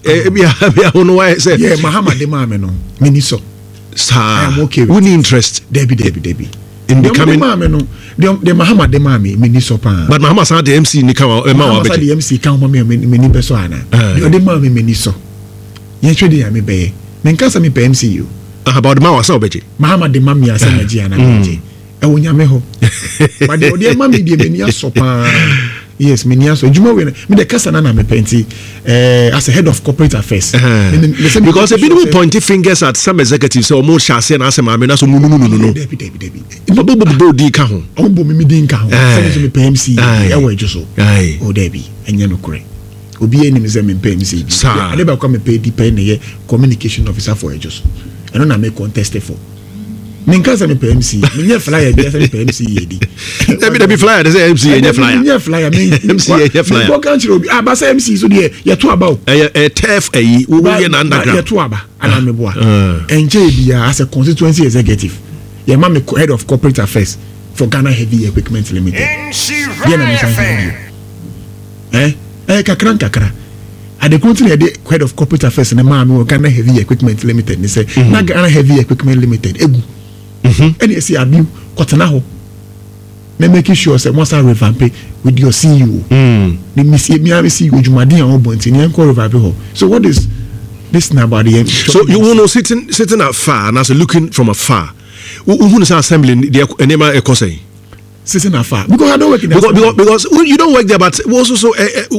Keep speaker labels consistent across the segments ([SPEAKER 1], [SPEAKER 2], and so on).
[SPEAKER 1] Ebi a bi a wo wayɛ sɛ.
[SPEAKER 2] Yeah, Mahama de maa me no, m'ani sɔ.
[SPEAKER 1] Saa. I am okay with Wonni interest.
[SPEAKER 2] Dabi, dabi, dabi. In becoming. Deɛ ɔmo de maa me no, deɛ deɛ Mahama de maa me, m'ani sɔ paa.
[SPEAKER 1] But Mahama san de MC ni ka wa ɛma wa
[SPEAKER 2] abɛgye. Mahama san de MC ka ho ma me, m'ani bɛ sɔ ana. Deɛ ɔde maa me, m'ani sɔ. Yɛn hwɛ de nyame bɛyɛ. Menka sɛ mepɛ MC o.
[SPEAKER 1] Aha, but ɔde ma wa sɛ ɔbɛgye.
[SPEAKER 2] Mahama de ma me a sɛ magye ana magye. Ɛwɔ nyame hɔ. But deɛ ɔde ama me deɛ m'ani asɔ paa. Yes, m'ani asɔ. Adwuma wei no, me deɛ kasa na na mepɛ nti eh, as a head of corporate affairs.
[SPEAKER 1] Because ebinom point fingers at some executives sɛ ɔmo hyɛ aseɛ na asɛ maame na so mu nunu nunu no.
[SPEAKER 2] Dabi dabi dabi.
[SPEAKER 1] Ɔmo bɔ bɔ din ka ho.
[SPEAKER 2] Ɔmo bɔ mi din ka ho. Sɛ mi nso mepɛ MC ɛwɔ adwo so. Oh dabi, ɛnyɛ nokorɛ. Obiara nim sɛ mempɛ MC bi.
[SPEAKER 1] Saa.
[SPEAKER 2] Ade baako a mepɛ di pɛ na ɛyɛ communication officer for Ejo so. Ɛno na me contest for. Menka sɛ mepɛ MC. Menyɛ flyer bi sɛ mepɛ MC yɛ di.
[SPEAKER 1] Dabi dabi flyer de sɛ MC yɛ nyɛ flyer.
[SPEAKER 2] Menyɛ flyer.
[SPEAKER 1] MC yɛ nyɛ flyer.
[SPEAKER 2] Mebɔ kan kyerɛ obi. Ah, ba sɛ MC so deɛ yɛto aba o.
[SPEAKER 1] Ɛyɛ ɛyɛ turf ɛyi. Wo yɛ na underground.
[SPEAKER 2] Yɛto aba anaa meboa. Ɛnkyɛ biara as a constituency executive yɛma me head of corporate affairs for Ghana Heavy Equipment Limited. Deɛ na mesan hia bio. Eh, ɛyɛ kakra nkakra. Ade koro nti na yɛde head of corporate affairs no maa me wɔ Ghana Heavy Equipment Limited ne sɛ, mm -hmm. na Ghana Heavy Equipment Limited egu. Mm -hmm. Ɛna ɛsi abiw kɔtena hɔ na make sure sɛ wɔn san revamp with your CEO. Mm. Ne mi mi a CEO dwumaden a wɔbɔ nti ne yɛn kɔ revamp hɔ. So what is this na about the
[SPEAKER 1] So you know sitting afar and as looking from afar. Who is assembly deɛ nneɛma ɛkɔ sɛn?
[SPEAKER 2] Sitting afar because I don't work in the
[SPEAKER 1] because you don't work there, but also so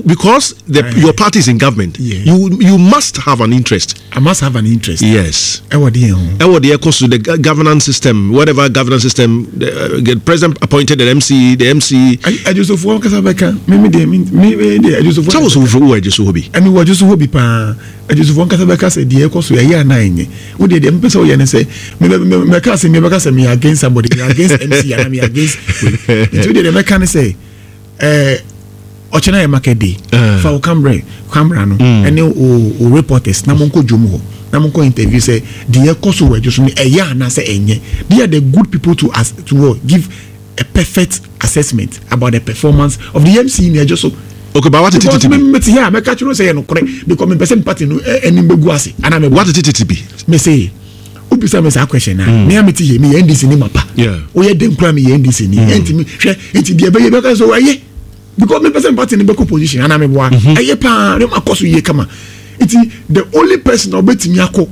[SPEAKER 1] because the your party is in government, yeah. You must have an interest.
[SPEAKER 2] I must have an interest.
[SPEAKER 1] Yes.
[SPEAKER 2] Ɛwɔ deɛ ho.
[SPEAKER 1] Ɛwɔ deɛ ɛkɔ so the governance system, whatever governance system, the president appointed the MC, the MC.
[SPEAKER 2] Adwosofoɔ kasa bɛka mímí deɛ mi mi deɛ adwosofoɔ.
[SPEAKER 1] Sáwọ́ sọ wɔ adwoso hɔ bi.
[SPEAKER 2] Ɛmi wɔ adwoso hɔ bi paa. Adwosofoɔ nkasa bɛka sɛ deɛ ɛkɔ so ɛyɛ anaa ɛnyɛ. Wo deɛ deɛ mepɛ sɛ woyɛ ne sɛ mɛka sɛ mebɛka sɛ meyɛ against somebody, meyɛ against MC anaa meyɛ against wei. Nti wo deɛ deɛ mɛka ne sɛ ɛɛ ɔkyena yɛ market day. Fa wo camera camera no ɛne wo wo reporters na monkɔ dwom hɔ na monkɔ interview sɛ deɛ ɛkɔ so wɔ adwo so no ɛyɛ anaa sɛ ɛnyɛ. They are the good people to as to what give a perfect assessment about the performance of the MC in Ejoso.
[SPEAKER 1] Okay, but what
[SPEAKER 2] it because me me here me catch no say no kore because me person party no anim begu ase ana me
[SPEAKER 1] what it it be
[SPEAKER 2] me say obisa me saa question na mm. me amete here me NDC ni mapa o ye den kura me ye NDC ni enti me hwɛ enti de be ye be ka so aye because me person party ni be ko position ana me boa aye pa ne makɔ so ye kama enti the only person obetimi akɔ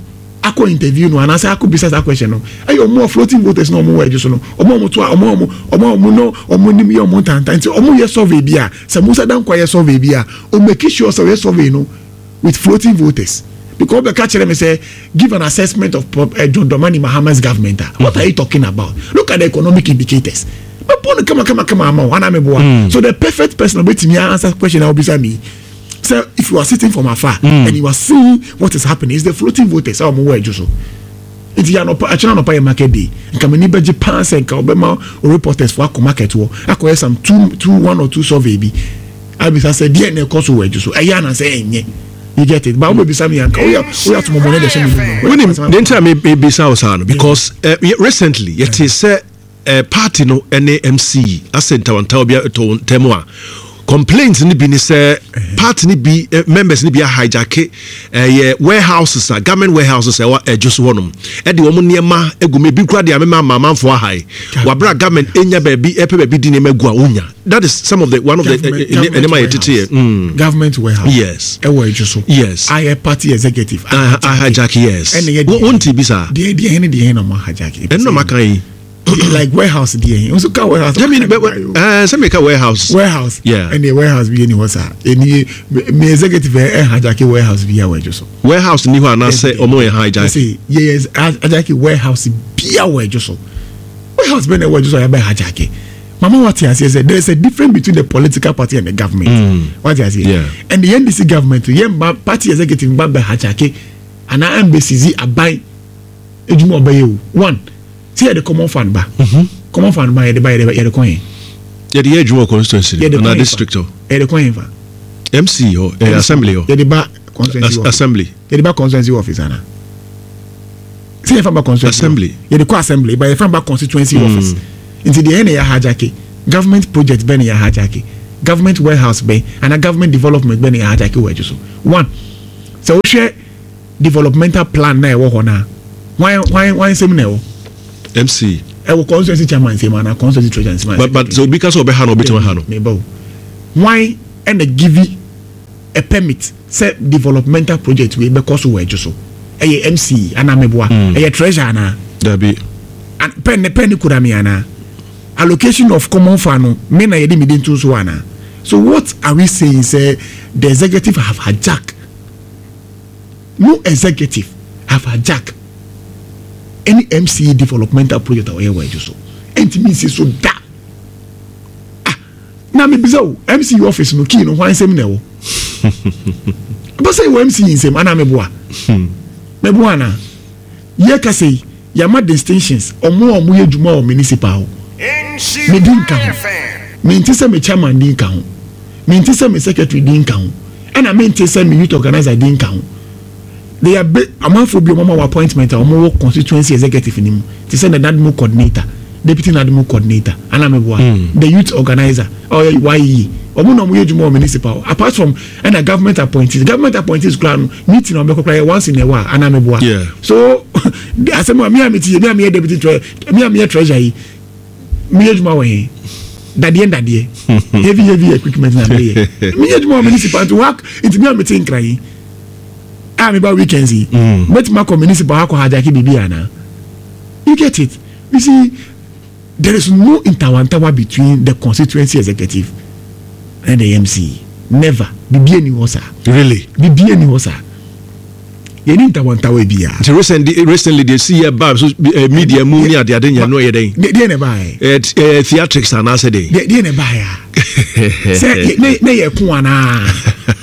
[SPEAKER 2] akɔ interview no anaasɛ akɔ bisa saa question no ɛyɛ ɔmo a floating voters na ɔmo wɔ ɛdwo so no ɔmo a ɔmo to a ɔmo a ɔmo ɔmo a ɔmo no ɔmo nim yɛ ɔmo ntanta nti ɔmo yɛ survey bi a sɛ Musa Dankwa yɛ survey bi a o make sure sɛ ɔyɛ survey no with floating voters because ɔbɛka kyerɛ me sɛ give an assessment of John Dramani Mahama's government a what are you talking about? Look at the economic indicators, mɛbɔ no kama kama kama ama wo anaa meboa? So the perfect person ɔbɛtumi answer question a wobisa me sɛ if you are sitting from afar and you are seeing what is happening is the floating voters a wɔn wɔ adwo so. Nti yɛ anɔpa, akyerɛ anɔpa yɛ market day, nka m'ani bɛgye paa sɛ nka ɔbɛma reporters fo akɔ market hɔ akɔyɛ some two two one or two survey bi abisa sɛ deɛ na ɛkɔ so wɔ adwo so, ɛyɛ anaasɛ ɛnyɛ. You get it? But wobɛbisa me anka woyɛ woyɛ atomɔbɔne de hyɛ me mu.
[SPEAKER 1] Wonim deɛ nti a mebisa wo saa no, because recently yɛte sɛ party no ne MC asɛ ntawantawa bi tɔ ntam a complaints no bi ne sɛ party no bi members no bi ahijacke ɛyɛ warehouses a government warehouses ɛwɔ ɛdwo so hɔnom ɛde wɔn nneɛma egu mu, ebi kura de amema ama amanfoɔ ahae wabra government enya baabi ɛpɛ baabi di nneɛma gu a wonya. That is some of the one of the nneɛma yɛ tete
[SPEAKER 2] yɛ. Government warehouse.
[SPEAKER 1] Yes.
[SPEAKER 2] Ɛwɔ ɛdwo so.
[SPEAKER 1] Yes.
[SPEAKER 2] Ayɛ party executive.
[SPEAKER 1] Ahijacke, yes.
[SPEAKER 2] Ɛna yɛ
[SPEAKER 1] deɛ. Wɔn ti bi saa.
[SPEAKER 2] Deɛ deɛ ne deɛ na ɔmo ahijacke.
[SPEAKER 1] Ɛna ɔmo aka yi.
[SPEAKER 2] Like warehouse deɛ nso ka warehouse.
[SPEAKER 1] Jẹ́mi bɛ ɛɛ sɛ mi ka warehouse.
[SPEAKER 2] Warehouse.
[SPEAKER 1] Yeah.
[SPEAKER 2] Ɛna warehouse bi yɛ ni hɔ saa. Ɛni mi executive ɛ hijacke warehouse bi yɛ wɔ ɛdwo so.
[SPEAKER 1] Warehouse ni hɔ anaasɛ ɔmo yɛ hijack?
[SPEAKER 2] Ɛsɛ yɛ yɛ hijacke warehouse bi a wɔ ɛdwo so. Warehouse bɛ na ɛwɔ ɛdwo so a yɛ bɛ hijacke. Mama wate aseɛ sɛ there is a difference between the political party and the government. Wate aseɛ. And the NDC government yɛ mba party executive mba bɛ hijacke anaa ɛmbɛ sisi aban edwuma ɔbɛyɛ o. One, sɛ yɛde common fund ba. Common fund ba yɛde ba yɛde yɛde kɔ yɛn.
[SPEAKER 1] Yɛde yɛ adwuma wɔ constituency no anaa district hɔ.
[SPEAKER 2] Yɛde kɔ yɛn fa.
[SPEAKER 1] MC hɔ, assembly hɔ.
[SPEAKER 2] Yɛde ba constituency office.
[SPEAKER 1] Assembly.
[SPEAKER 2] Yɛde ba constituency office ana. Sɛ yɛfa ba constituency.
[SPEAKER 1] Assembly.
[SPEAKER 2] Yɛde kɔ assembly ba yɛfa ba constituency office. Nti deɛ yɛn na yɛ hijacke government project bɛn na yɛ hijacke, government warehouse bɛn ana government development bɛn na yɛ hijacke wɔ adwo so. One. Sɛ wohwɛ developmental plan na ɛwɔ hɔ no a, hwan hwan hwan nsɛm na ɛwɔ?
[SPEAKER 1] MC.
[SPEAKER 2] Ɛwɔ constituency chairman nsɛm anaa constituency treasurer nsɛm anaa?
[SPEAKER 1] But but sɛ obi ka sɛ ɔbɛha no ɔbɛtumi aha no.
[SPEAKER 2] Meba o. Hwan ɛna give a permit sɛ developmental project wei bɛkɔ so wɔ Adwo so? Ɛyɛ MC anaa meboa? Ɛyɛ treasurer anaa?
[SPEAKER 1] Dabi.
[SPEAKER 2] Pen ne pen ne kura me anaa? Allocation of common fund no me na yɛde me din to so anaa? So what are we saying sɛ the executive have hijacked no executive have hijacked any MCE developmental project a ɔyɛ wɔ Adwo so ɛntumi nsi so da. Ah, na mebisa o, MCE office no key no hwan nsɛm na ɛwɔ? Ɛbɛ sɛ ɛwɔ MCE nsɛm anaa meboa? Meboa anaa? Yɛ kasa yi, yɛama distinctions, ɔmo a ɔmo yɛ adwuma wɔ municipal hɔ, me din nka ho, mente sɛ me chairman din ka ho, mente sɛ me secretary din nka ho, ɛna mente sɛ me youth organizer din nka ho. They are be amanfoɔ bi a wɔama wɔ appointment a wɔwɔ constituency executive no mu, te sɛ the NADMO coordinator, deputy NADMO coordinator, anaa meboa, the youth organizer, ɔyɛ YEA, wɔn na wɔyɛ adwuma wɔ municipal hɔ, apart from ɛna government appointees, government appointees koraa no, meeting a wɔbɛkɔ koraa yɛ once in a while, anaa meboa.
[SPEAKER 1] Yeah.
[SPEAKER 2] So, asɛm a me a mete yɛ, me a meyɛ deputy treasurer, me a meyɛ treasurer yi, meyɛ adwuma wɔ he? Dadeɛ ndadeɛ, heavy heavy equipment na meyɛ. Meyɛ adwuma wɔ municipal nti wa nti me a mete Nkran yi, a meba weekends yi, mɛtumi akɔ municipal akɔ hijack biribi anaa? You get it? You see, there is no ntawantawa between the constituency executive and the MC. Never. Biribi ani hɔ saa.
[SPEAKER 1] Really?
[SPEAKER 2] Biribi ani hɔ saa. Yɛni ntawantawa biara.
[SPEAKER 1] Nti recently recently deɛ si yɛ ba so eh, media mu ne adeade nyɛ no yɛ dɛn?
[SPEAKER 2] Deɛ na ɛbaeɛ.
[SPEAKER 1] Eh, eh, theatrics anaasɛ dɛn?
[SPEAKER 2] Deɛ na ɛbaeɛ a. Sɛ ne ne yɛ ko anaa.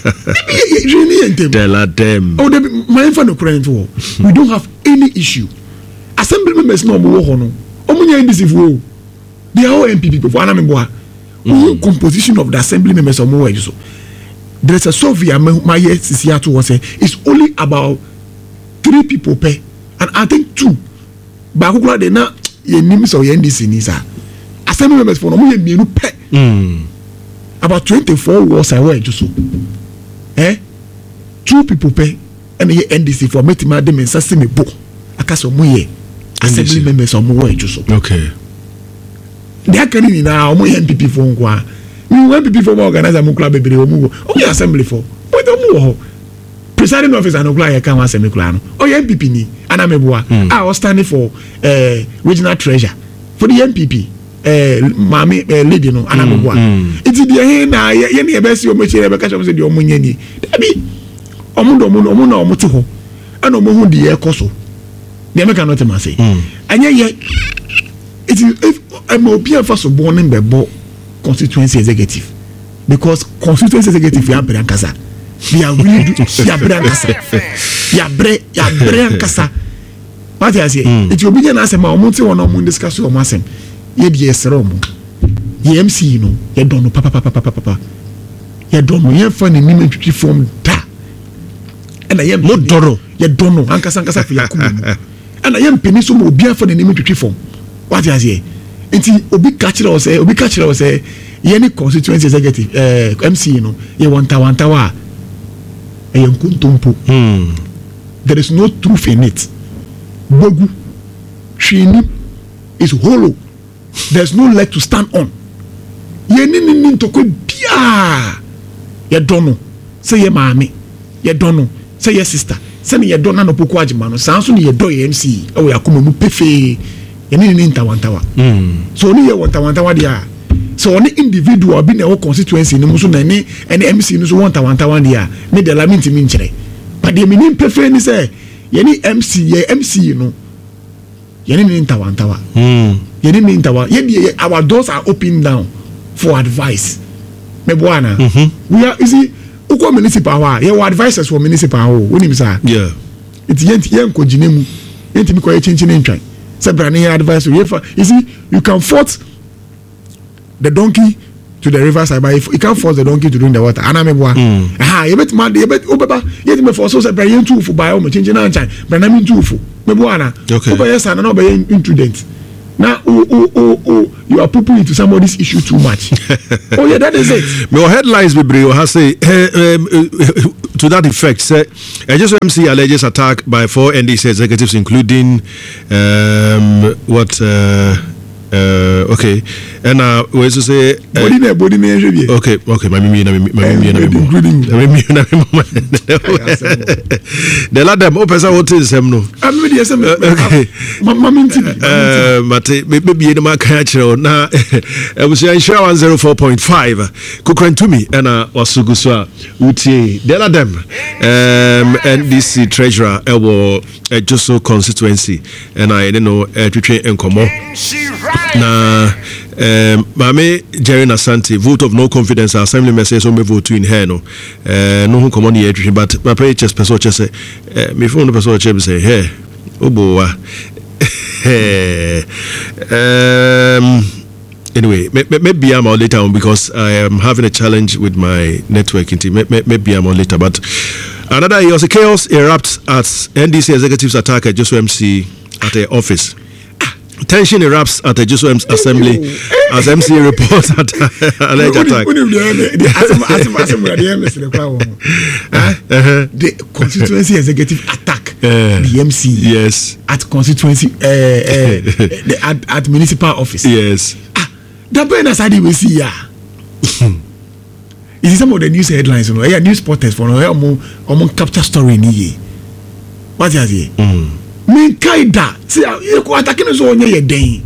[SPEAKER 2] Ebi yɛ yɛ ne yɛ ntɛm.
[SPEAKER 1] Tell them.
[SPEAKER 2] Oh, dabi maa nfa no kura nto hɔ. We don't have any issue. Assembly members na wɔn wɔ hɔ no, wɔn nyɛ NDC foɔ o. They are all NPP people. Anam mboa. Wɔn composition of the assembly members wɔn wɔ ɛdi so. There is a survey a ma yɛ sisi ato hɔ sɛ it's only about three people pɛ and I think two baako koraa de na yɛ nim sɛ ɔyɛ NDC ni saa. Assembly members fo no wɔn yɛ mmienu pɛ. About 24 wards a ɛwɔ ɛdwo so. Eh? Two people pɛ ɛna yɛ NDC fo a mɛtumi ade me nsa si me bo aka sɛ wɔn yɛ assembly members a wɔn wɔ ɛdwo so.
[SPEAKER 1] Okay.
[SPEAKER 2] Deɛ aka ne nyinaa wɔn yɛ NPP fo nko a. Mi wɔ NPP fo ma organizer mu kura bebree wɔn wɔ wɔn yɛ assembly fo wɔn wɔ hɔ. Presiding officer no kura yɛ ka ho asɛm kura no ɔyɛ NPP ni anameboa a ɔstanding for regional treasurer for the NPP. Maame lady no anameboa. Nti deɛ he na yɛ yɛ ne yɛ bɛ si wɔn akyi yɛ bɛ ka kyerɛ wɔn sɛ deɛ wɔn nyɛ nie. Dabi wɔn de wɔn wɔn na wɔn te hɔ ɛna wɔn ho deɛ ɛkɔ so. Deɛ mɛka no te ma se. Ɛnyɛ yɛ. Nti if ɛma obi anfa so bɔ ne bɛbɔ constituency executive because constituency executive yɛ abrɛ ankasa. They are really do yɛ abrɛ ankasa. Yɛ abrɛ yɛ abrɛ ankasa. Wate aseɛ? Nti obi nyɛ n'asɛm a wɔn te hɔ na wɔn discuss wɔn asɛm. Yɛ deɛ yɛsrɛ wɔn. Yɛ MC no yɛdɔ no papapapapapa. Yɛdɔ no yɛnfa n'anim ntwitwi fam da. Ɛna yɛn
[SPEAKER 1] Mo dɔ no.
[SPEAKER 2] Yɛdɔ no ankasa ankasa fi yɛn akoma mu. Ɛna yɛn mpene so ma obi afa n'anim ntwitwi fam. Wate aseɛ? Nti obi ka kyerɛ wo sɛ obi ka kyerɛ wo sɛ yɛne constituency executive MC no yɛwɔ ntawantawa a ɛyɛ nkontompo. There is no truth in it. Bogu hwee nim is hollow. There is no leg to stand on. Yɛne ne ni ntɔkwa biara. Yɛdɔ no sɛ yɛ maame. Yɛdɔ no sɛ yɛ sister. Sɛne yɛdɔ Nana Opoku Agyemang no, saa nso na yɛdɔ yɛ MC wɔ yɛn akoma mu pefee. Yɛne ne ni ntawantawa. So ɔne yɛ wɔ ntawantawa deɛ a, sɛ ɔne individual bi na ɛwɔ constituency no mu nso na ɛne ɛne MC no nso wɔ ntawantawa deɛ a, me deɛ la mentumi nkyerɛ. But deɛ menim pefee ne sɛ yɛne MC yɛ MC no yɛne ne ntawantawa. Yɛne ne ntawa. Yɛ deɛ yɛ our doors are open now for advice. Meboa ana? We are you see wokɔ municipal hɔ a yɛwɔ advisers wɔ municipal hɔ o wonim saa?
[SPEAKER 1] Yeah.
[SPEAKER 2] Nti yɛn yɛnkɔ gyina mu yɛntumi kɔ yɛ kyinkyin ntwan sɛ bra ne yɛ advice o yɛfa you see you can fault the donkey to the river side but if you can't force the donkey to drink the water ana meboa aha yɛbɛtumi ade yɛbɛ wobɛba yɛtumi fɔ so sɛ bra yɛntu wo fo baeɛ ɔmo kyinkyin ankyɛn bra na mentu wo fo meboa ana
[SPEAKER 1] Okay.
[SPEAKER 2] wobɛyɛ saa na na wobɛyɛ imprudent na o o o o you are pooping into somebody's issue too much. Oh yeah, that is it.
[SPEAKER 1] Mewɔ headlines bebree wɔ ha sɛ to that effect sɛ Ejisu MC alleges attack by four NDC executives including um, what uh, uh, okay ɛna wei nso sɛ
[SPEAKER 2] body na body na ɛhwɛ bi
[SPEAKER 1] okay okay ma mi na mi ma mi na mi bɔ ma mi na mi bɔ the ladder o pɛ sɛ o te nsɛm no.
[SPEAKER 2] mi deɛ sɛ mi ma mi nti bi.
[SPEAKER 1] Mate mebie no maka akyerɛ wo na abusua nhyira 104.5 kokrantumi ɛna waso gu so a wotie the other dem um, ndc treasurer ɛwɔ Ejisu constituency ɛna yɛne no ɛtwetwe nkɔmmɔ na um, maame Jerry Nasante vote of no confidence assembly members sɛ ɔmbɛ vote in her no uh, no ho nkɔmmɔ ne yɛtwetwe but papa yi kyɛ pɛ sɛ ɔkyɛ sɛ uh, me phone no pɛ sɛ ɔkyɛ bi sɛ hɛ wobowa anyway, maybe I'm on later on because I am having a challenge with my network. Maybe I'm on later. But another year, also chaos erupts at NDC executives attack at Ejisu MC at the office. Tension erupts at the Ejisu Assembly as MC reports at alleged attack.
[SPEAKER 2] The constituency executive attack the MC.
[SPEAKER 1] Yes.
[SPEAKER 2] At constituency, the, at municipal office.
[SPEAKER 1] Yes.
[SPEAKER 2] Ah, that ben as I we see ya. You see some of the news headlines, you know, yeah, news portals for no, omo capture story ni ye. What is it? Me kai da. See, you ko attacking so onye ye den.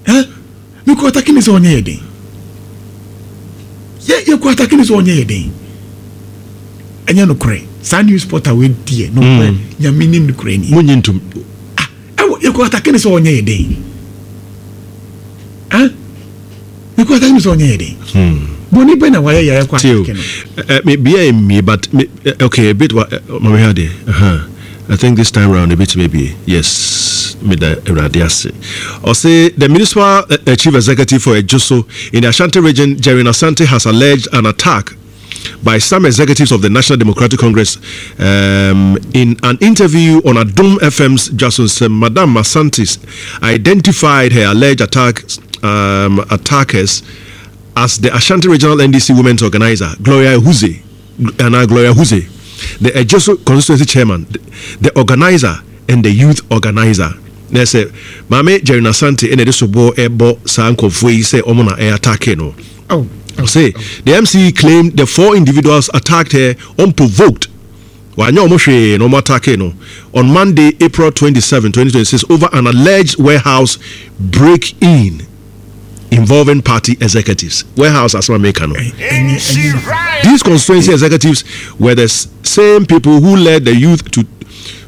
[SPEAKER 2] Huh? Me ko attacking so onye ye den. Ye ye ko attacking so onye ye den. Enye no kore. Saa news portal we die no kore. Nyame nim no kore ni.
[SPEAKER 1] Munyi ntum.
[SPEAKER 2] Ah, ewo ye ko attacking so onye ye den. Huh? Me ko attacking so onye ye den. Boni be na waye ya ko attacking no.
[SPEAKER 1] Me bia me but me, okay a bit ma me hade. I think this time round a bit maybe. Yes, me da Awurade ase. Ɔse the municipal chief executive for Ejisu in the Ashanti region, Jerry Asante, has alleged an attack by some executives of the National Democratic Congress in an interview on Adom FM's Jason Sem. Madam Asante identified her alleged attackers as the Ashanti Regional NDC Women's Organizer, Gloria Huze, and Gloria Huze, the Ejisu constituency chairman, the organizer, and the youth organizer. They say, Mame Jerry Asante, and the Sobo Ebo Sanko Fui say Omona e attack no.
[SPEAKER 2] Oh.
[SPEAKER 1] Say the MC claimed the four individuals attacked her unprovoked. On Monday, April 27, 2026, over an alleged warehouse break-in involving party executives. Warehouse as Mekano. These constituency executives were the same people who led the youth to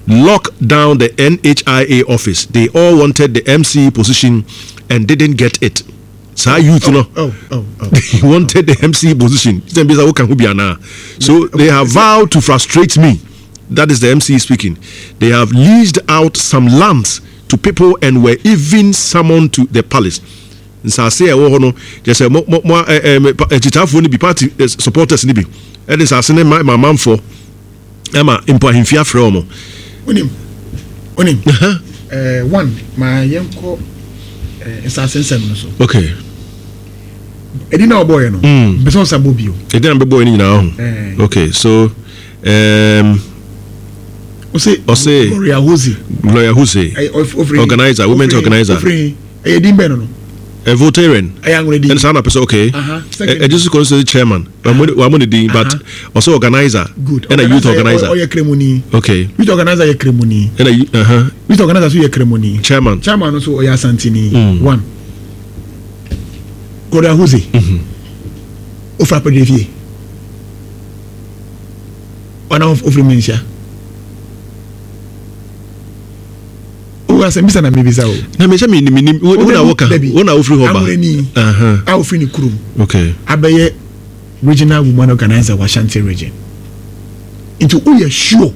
[SPEAKER 1] lock down the NHIA office. They all wanted the MC position and didn't get it. Saa youth no, they wanted the MC position. So they have vowed to frustrate me. That is the MC speaking. They have leased out some lands to people and were even summoned to the palace. Nsase ɛwɔ hɔ no, kyerɛ sɛ mo mo mo akyitaafoɔ no bi, party supporters no bi, ɛde nsase ne ma amanfoɔ ɛma mpo ahemfie afrɛ wɔn.
[SPEAKER 2] Onim, onim. One, ma yɛnkɔ nsase nsɛm no so.
[SPEAKER 1] Okay.
[SPEAKER 2] Ɛdi na ɔbɔɔyɛ no. Bɛsɛ ɔsa bɔ bio.
[SPEAKER 1] Ɛdi na bɛbɔɔyɛ no nyinaa ho. Okay, so.
[SPEAKER 2] Ɔse Gloria Huze.
[SPEAKER 1] Gloria Huze. Organizer, women's organizer.
[SPEAKER 2] Ɛyɛ din bɛn no no?
[SPEAKER 1] Voltairean.
[SPEAKER 2] Ɛyɛ anwene din.
[SPEAKER 1] Ɛna saa na pɛ sɛ okay. Ejisu constituency chairman. Wamu ne din but ɔsɛ organizer.
[SPEAKER 2] Good.
[SPEAKER 1] Ɛna youth organizer.
[SPEAKER 2] Ɔyɛ kremoni.
[SPEAKER 1] Okay.
[SPEAKER 2] Youth organizer yɛ kremoni.
[SPEAKER 1] Ɛna
[SPEAKER 2] youth organizer so yɛ kremoni.
[SPEAKER 1] Chairman.
[SPEAKER 2] Chairman nso ɔyɛ asantini. One. Gloria Huze. Ofura pɛdɛ fie. Ɔna ofiri mi nhyia. O asɛm bisa na mebisa o.
[SPEAKER 1] Na mehyɛ mi nim nim wo na woka wo na wofiri hɔ ba.
[SPEAKER 2] Amurani a ofiri ne kurom.
[SPEAKER 1] Okay.
[SPEAKER 2] Abɛyɛ regional woman organizer wɔ Ashanti region. Nti woyɛ sure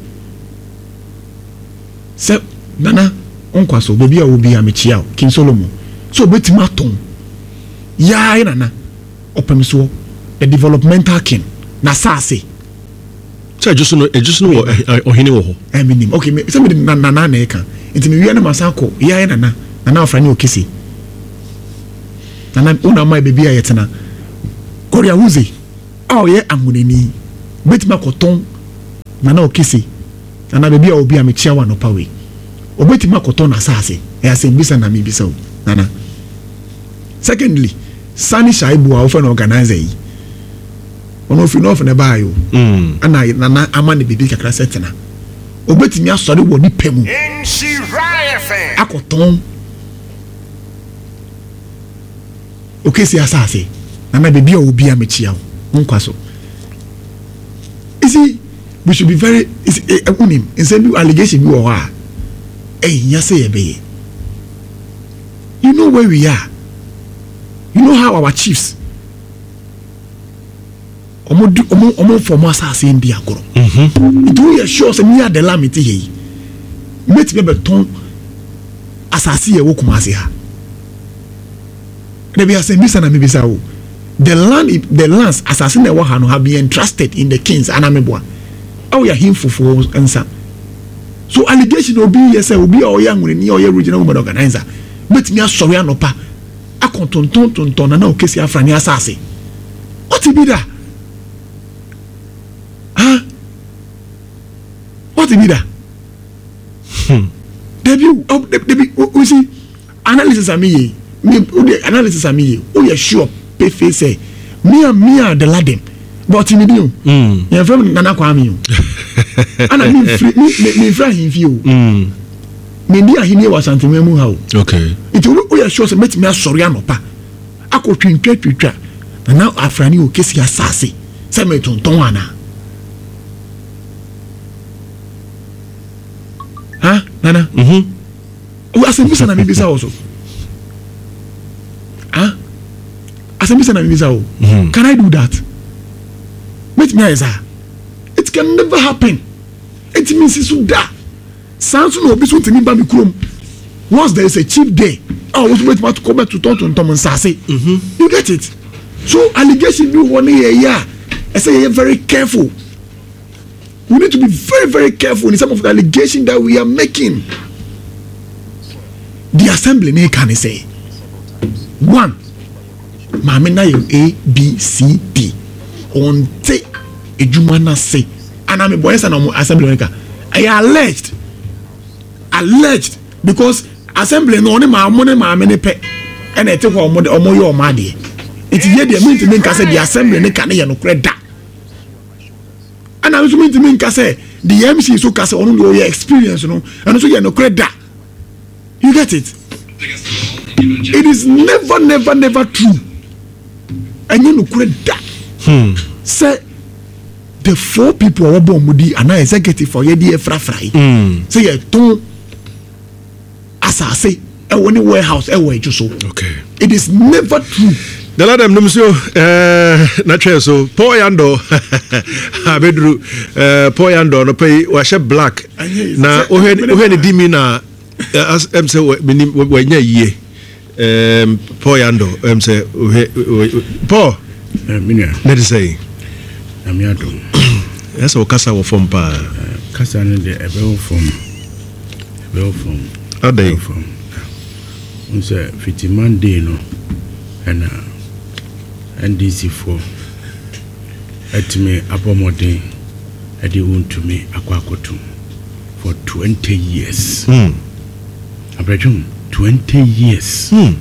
[SPEAKER 2] sɛ nana nkwa so baabi a wɔ bi a mekyia o King Solomon sɛ obetumi atɔn yaa nana ɔpɛm soɔ the developmental king na saase.
[SPEAKER 1] Sɛ Ejisu no Ejisu no wɔ ɔhene wɔ hɔ.
[SPEAKER 2] Ɛmi nim okay me sɛ mi de nana na ɛka nti mi wia na ma san kɔ yaa nana nana afra ne okese nana wɔn ama beebi a yɛtena Gloria Huze a ɔyɛ ahonani. Obetumi akɔtɔn Nana Okese anaa baabi a obi a mekyia wo anɔpa wei. Obetumi akɔtɔn n'asaase. Ɛyɛ asɛmbisa na mebisa o, Nana. Secondly, Sani Shaibu a wofrɛ no organizer yi, ɔno ofiri North na ɛbaeɛ o. Ɛna Nana ama no biribi kakra sɛ tena. Obetumi asɔre wɔ ne pɛ mu akɔtɔn Okesi asase. Nana baabi a ɔwɔ biara mekyia wo. Wo nkwa so. You see, we should be very, you see, eh, wonim, nsɛm bi, allegation bi wɔ hɔ a, ɛhia sɛ yɛbɛyɛ. You know where we are. You know how our chiefs, ɔmo di, ɔmo, ɔmo nfa ɔmo asase ndi agorɔ. Nti woyɛ sure sɛ me Adela mete ha yi, mɛtumi abɛtɔn asase yɛ wɔ Kumasi ha. Dabi asɛmbisa na mebisa wo. The land, the lands, asase na ɛwɔ ha no have been entrusted in the kings anaa meboa? Ɛwɔ yɛ ahemfofoɔ nsa. So allegation obi yɛ sɛ obi a ɔyɛ anwonani a ɔyɛ regional women organizer bɛtumi asɔre anɔpa akɔ tontɔn tontɔn Nana Okesi Afrane asase. Ɔte bi da? Ha? Ɔte bi da? Hmm. Dabi, dabi, o see. Analysis a meyɛ yi, me wo deɛ analysis a meyɛ yi, woyɛ sure pefee sɛ me a me a the Laden, but ɔte me din o. Mm. Yɛn fɛ me Nana Kwame o. Ana me nfiri me me me nfiri ahemfie o. Mm. Me ndi ahenni wɔ Asanteman mu ha o.
[SPEAKER 1] Okay.
[SPEAKER 2] Nti woyɛ sure sɛ mɛtumi asɔre anɔpa akɔ twintwa twitwa Nana Afrani o kesi asase sɛ metontɔn anaa? Ha Nana?
[SPEAKER 1] Mm -hmm.
[SPEAKER 2] Asɛm bisa na mebisa wo so. Ah? Asɛm bisa na mebisa wo. Mm. Can I do that? Mɛtumi ayɛ saa. It can never happen. Ɛtumi nsi so da. Saa nso na obi so ntumi ba me kurom. Once there is a chief there, a wɔn nso bɛtumi akɔ bɛtotɔ tontɔn nsaase. Mm-hmm. You get it? So allegation bi wɔ ne yɛ yɛ a ɛsɛ yɛyɛ very careful. We need to be very very careful in some of the allegations that we are making. The assembly ne ka ne sɛ one maame na yɛ A B C D ɔnte edwuma n'ase ana mi bɔ ɛsɛ na ɔmo assembly ne ka ɛyɛ alleged alleged because assembly no ɔne maa ɔmo ne maame ne pɛ ɛna ɛte hɔ ɔmo de ɔmo yɛ ɔmo adeɛ nti yɛ deɛ mi ntumi nka sɛ the assembly ne ka ne yɛ nokorɛ da. Ɛna nso mentumi nka sɛ the MC nso ka sɛ ɔno deɛ ɔyɛ experience no ɛno nso yɛ nokorɛ da you get it it is never never never true ɛnyɛ nokorɛ da hmm. sɛ the four people a wɔbɔ wɔn di anaa executive a yɛde yɛ frafra yi hmm. sɛ yɛtɔn asase ɛwɔ ne warehouse ɛwɔ ɛdwo so
[SPEAKER 1] okay
[SPEAKER 2] it is never true.
[SPEAKER 1] Nana Adam nom so eh, na twɛn so Paul Yandɔ abɛduru eh, Paul Yandɔ no pɛ yi wahyɛ black na wohwɛ wohwɛ ne di mi na eh, ɛm sɛ menim wanya yie eh, Paul Yandɔ ɛm sɛ wohwɛ Paul
[SPEAKER 3] eh, menua
[SPEAKER 1] na de sɛ yi
[SPEAKER 3] Nyame adom
[SPEAKER 1] ɛsɛ wo kasa wɔ fam paa
[SPEAKER 3] kasa no deɛ ɛbɛwɔ fam Ɛbɛwɔ fam.
[SPEAKER 1] Adɛn?
[SPEAKER 3] Ɛbɛwɔ fam. Wohu sɛ fiti Monday no ɛna NDC foɔ atumi abɔ mmɔden ɛde Wontumi akɔ akɔtum for 20 years.
[SPEAKER 1] Mm.
[SPEAKER 3] Abrɛdwom, 20 years.
[SPEAKER 1] Mm.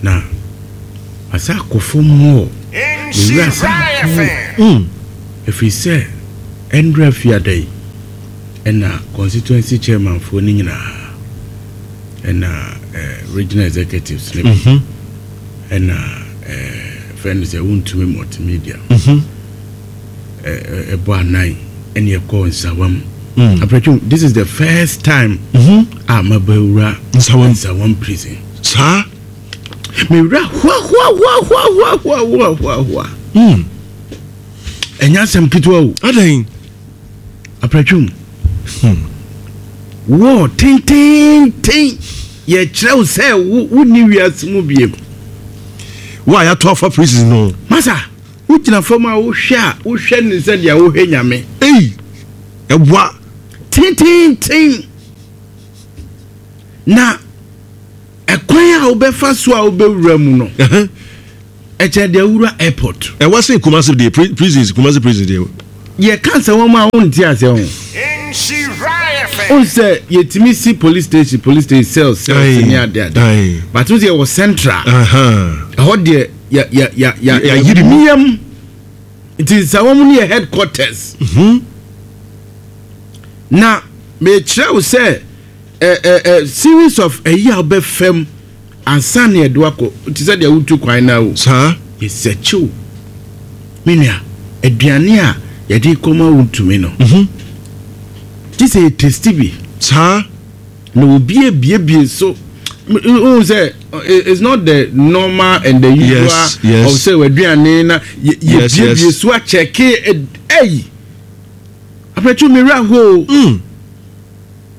[SPEAKER 3] Na asa akɔ fam more. Ne wura asa akɔ.
[SPEAKER 1] Mm.
[SPEAKER 3] Ɛfiri sɛ ɛndra fiada yi. Ɛna constituency chairman foɔ no nyinaa ɛna eh, regional executives no bi mhm. ɛna eh, fɛn no sɛ wontumi multimedia mhm. ɛbɔ anan ɛne ɛkɔɔ nsawam mm. Aprɛtwom, this is the first time mm-hmm. a mabɛwura
[SPEAKER 1] nsawam
[SPEAKER 3] nsawam prison
[SPEAKER 1] saa
[SPEAKER 3] mewura hoahoahoahoahoahoahoa
[SPEAKER 1] mm.
[SPEAKER 3] ɛnyɛ asɛm ketewa o
[SPEAKER 1] adɛn
[SPEAKER 3] Apratwom. Wɔ tententen yɛkyerɛ wo sɛ wo wonni wiase mu biem.
[SPEAKER 1] Wo a yɛato afa prison no.
[SPEAKER 3] Masa, wogyina fam a wohwɛ a wohwɛ ne sɛ deɛ wohwɛ nyame.
[SPEAKER 1] Ei, ɛwa.
[SPEAKER 3] Tententen. Na ɛkwan a wobɛfa so a wobɛwura mu no. Ɛkyɛn deɛ wura airport.
[SPEAKER 1] Ɛwa sen Kumasi deɛ prisons Kumasi prison deɛ.
[SPEAKER 3] Yɛ ka sɛ wɔn a wɔn nti aseɛ ho. Wɔn sɛ yɛtumi si police station police station cells cells ne ade ade. But wɔn sɛ yɛwɔ central. Ɛhɔ deɛ ya ya ya ya
[SPEAKER 1] yɛayiri mu.
[SPEAKER 3] Miam nti nsa wɔn no yɛ headquarters. Mhm. Na mekyerɛ wo sɛ ɛ ɛ ɛ series of ɛyi a wobɛfam. Ansa na yɛde wo akɔ, te sɛ deɛ woretu kwan no ara o.
[SPEAKER 1] Saa.
[SPEAKER 3] Yɛsɛkye wo. Me nua, aduane a yɛde rekɔma wo ntumi no, gye sɛ yɛtesti bi.
[SPEAKER 1] Saa.
[SPEAKER 3] Na obi abiebie so. Wohu sɛ, it's not the normal and the usual
[SPEAKER 1] yes, yes.
[SPEAKER 3] of sɛ w'aduane na yɛbiebie so akyɛke. Ɛyi, apɛtwu me werɛ ho o.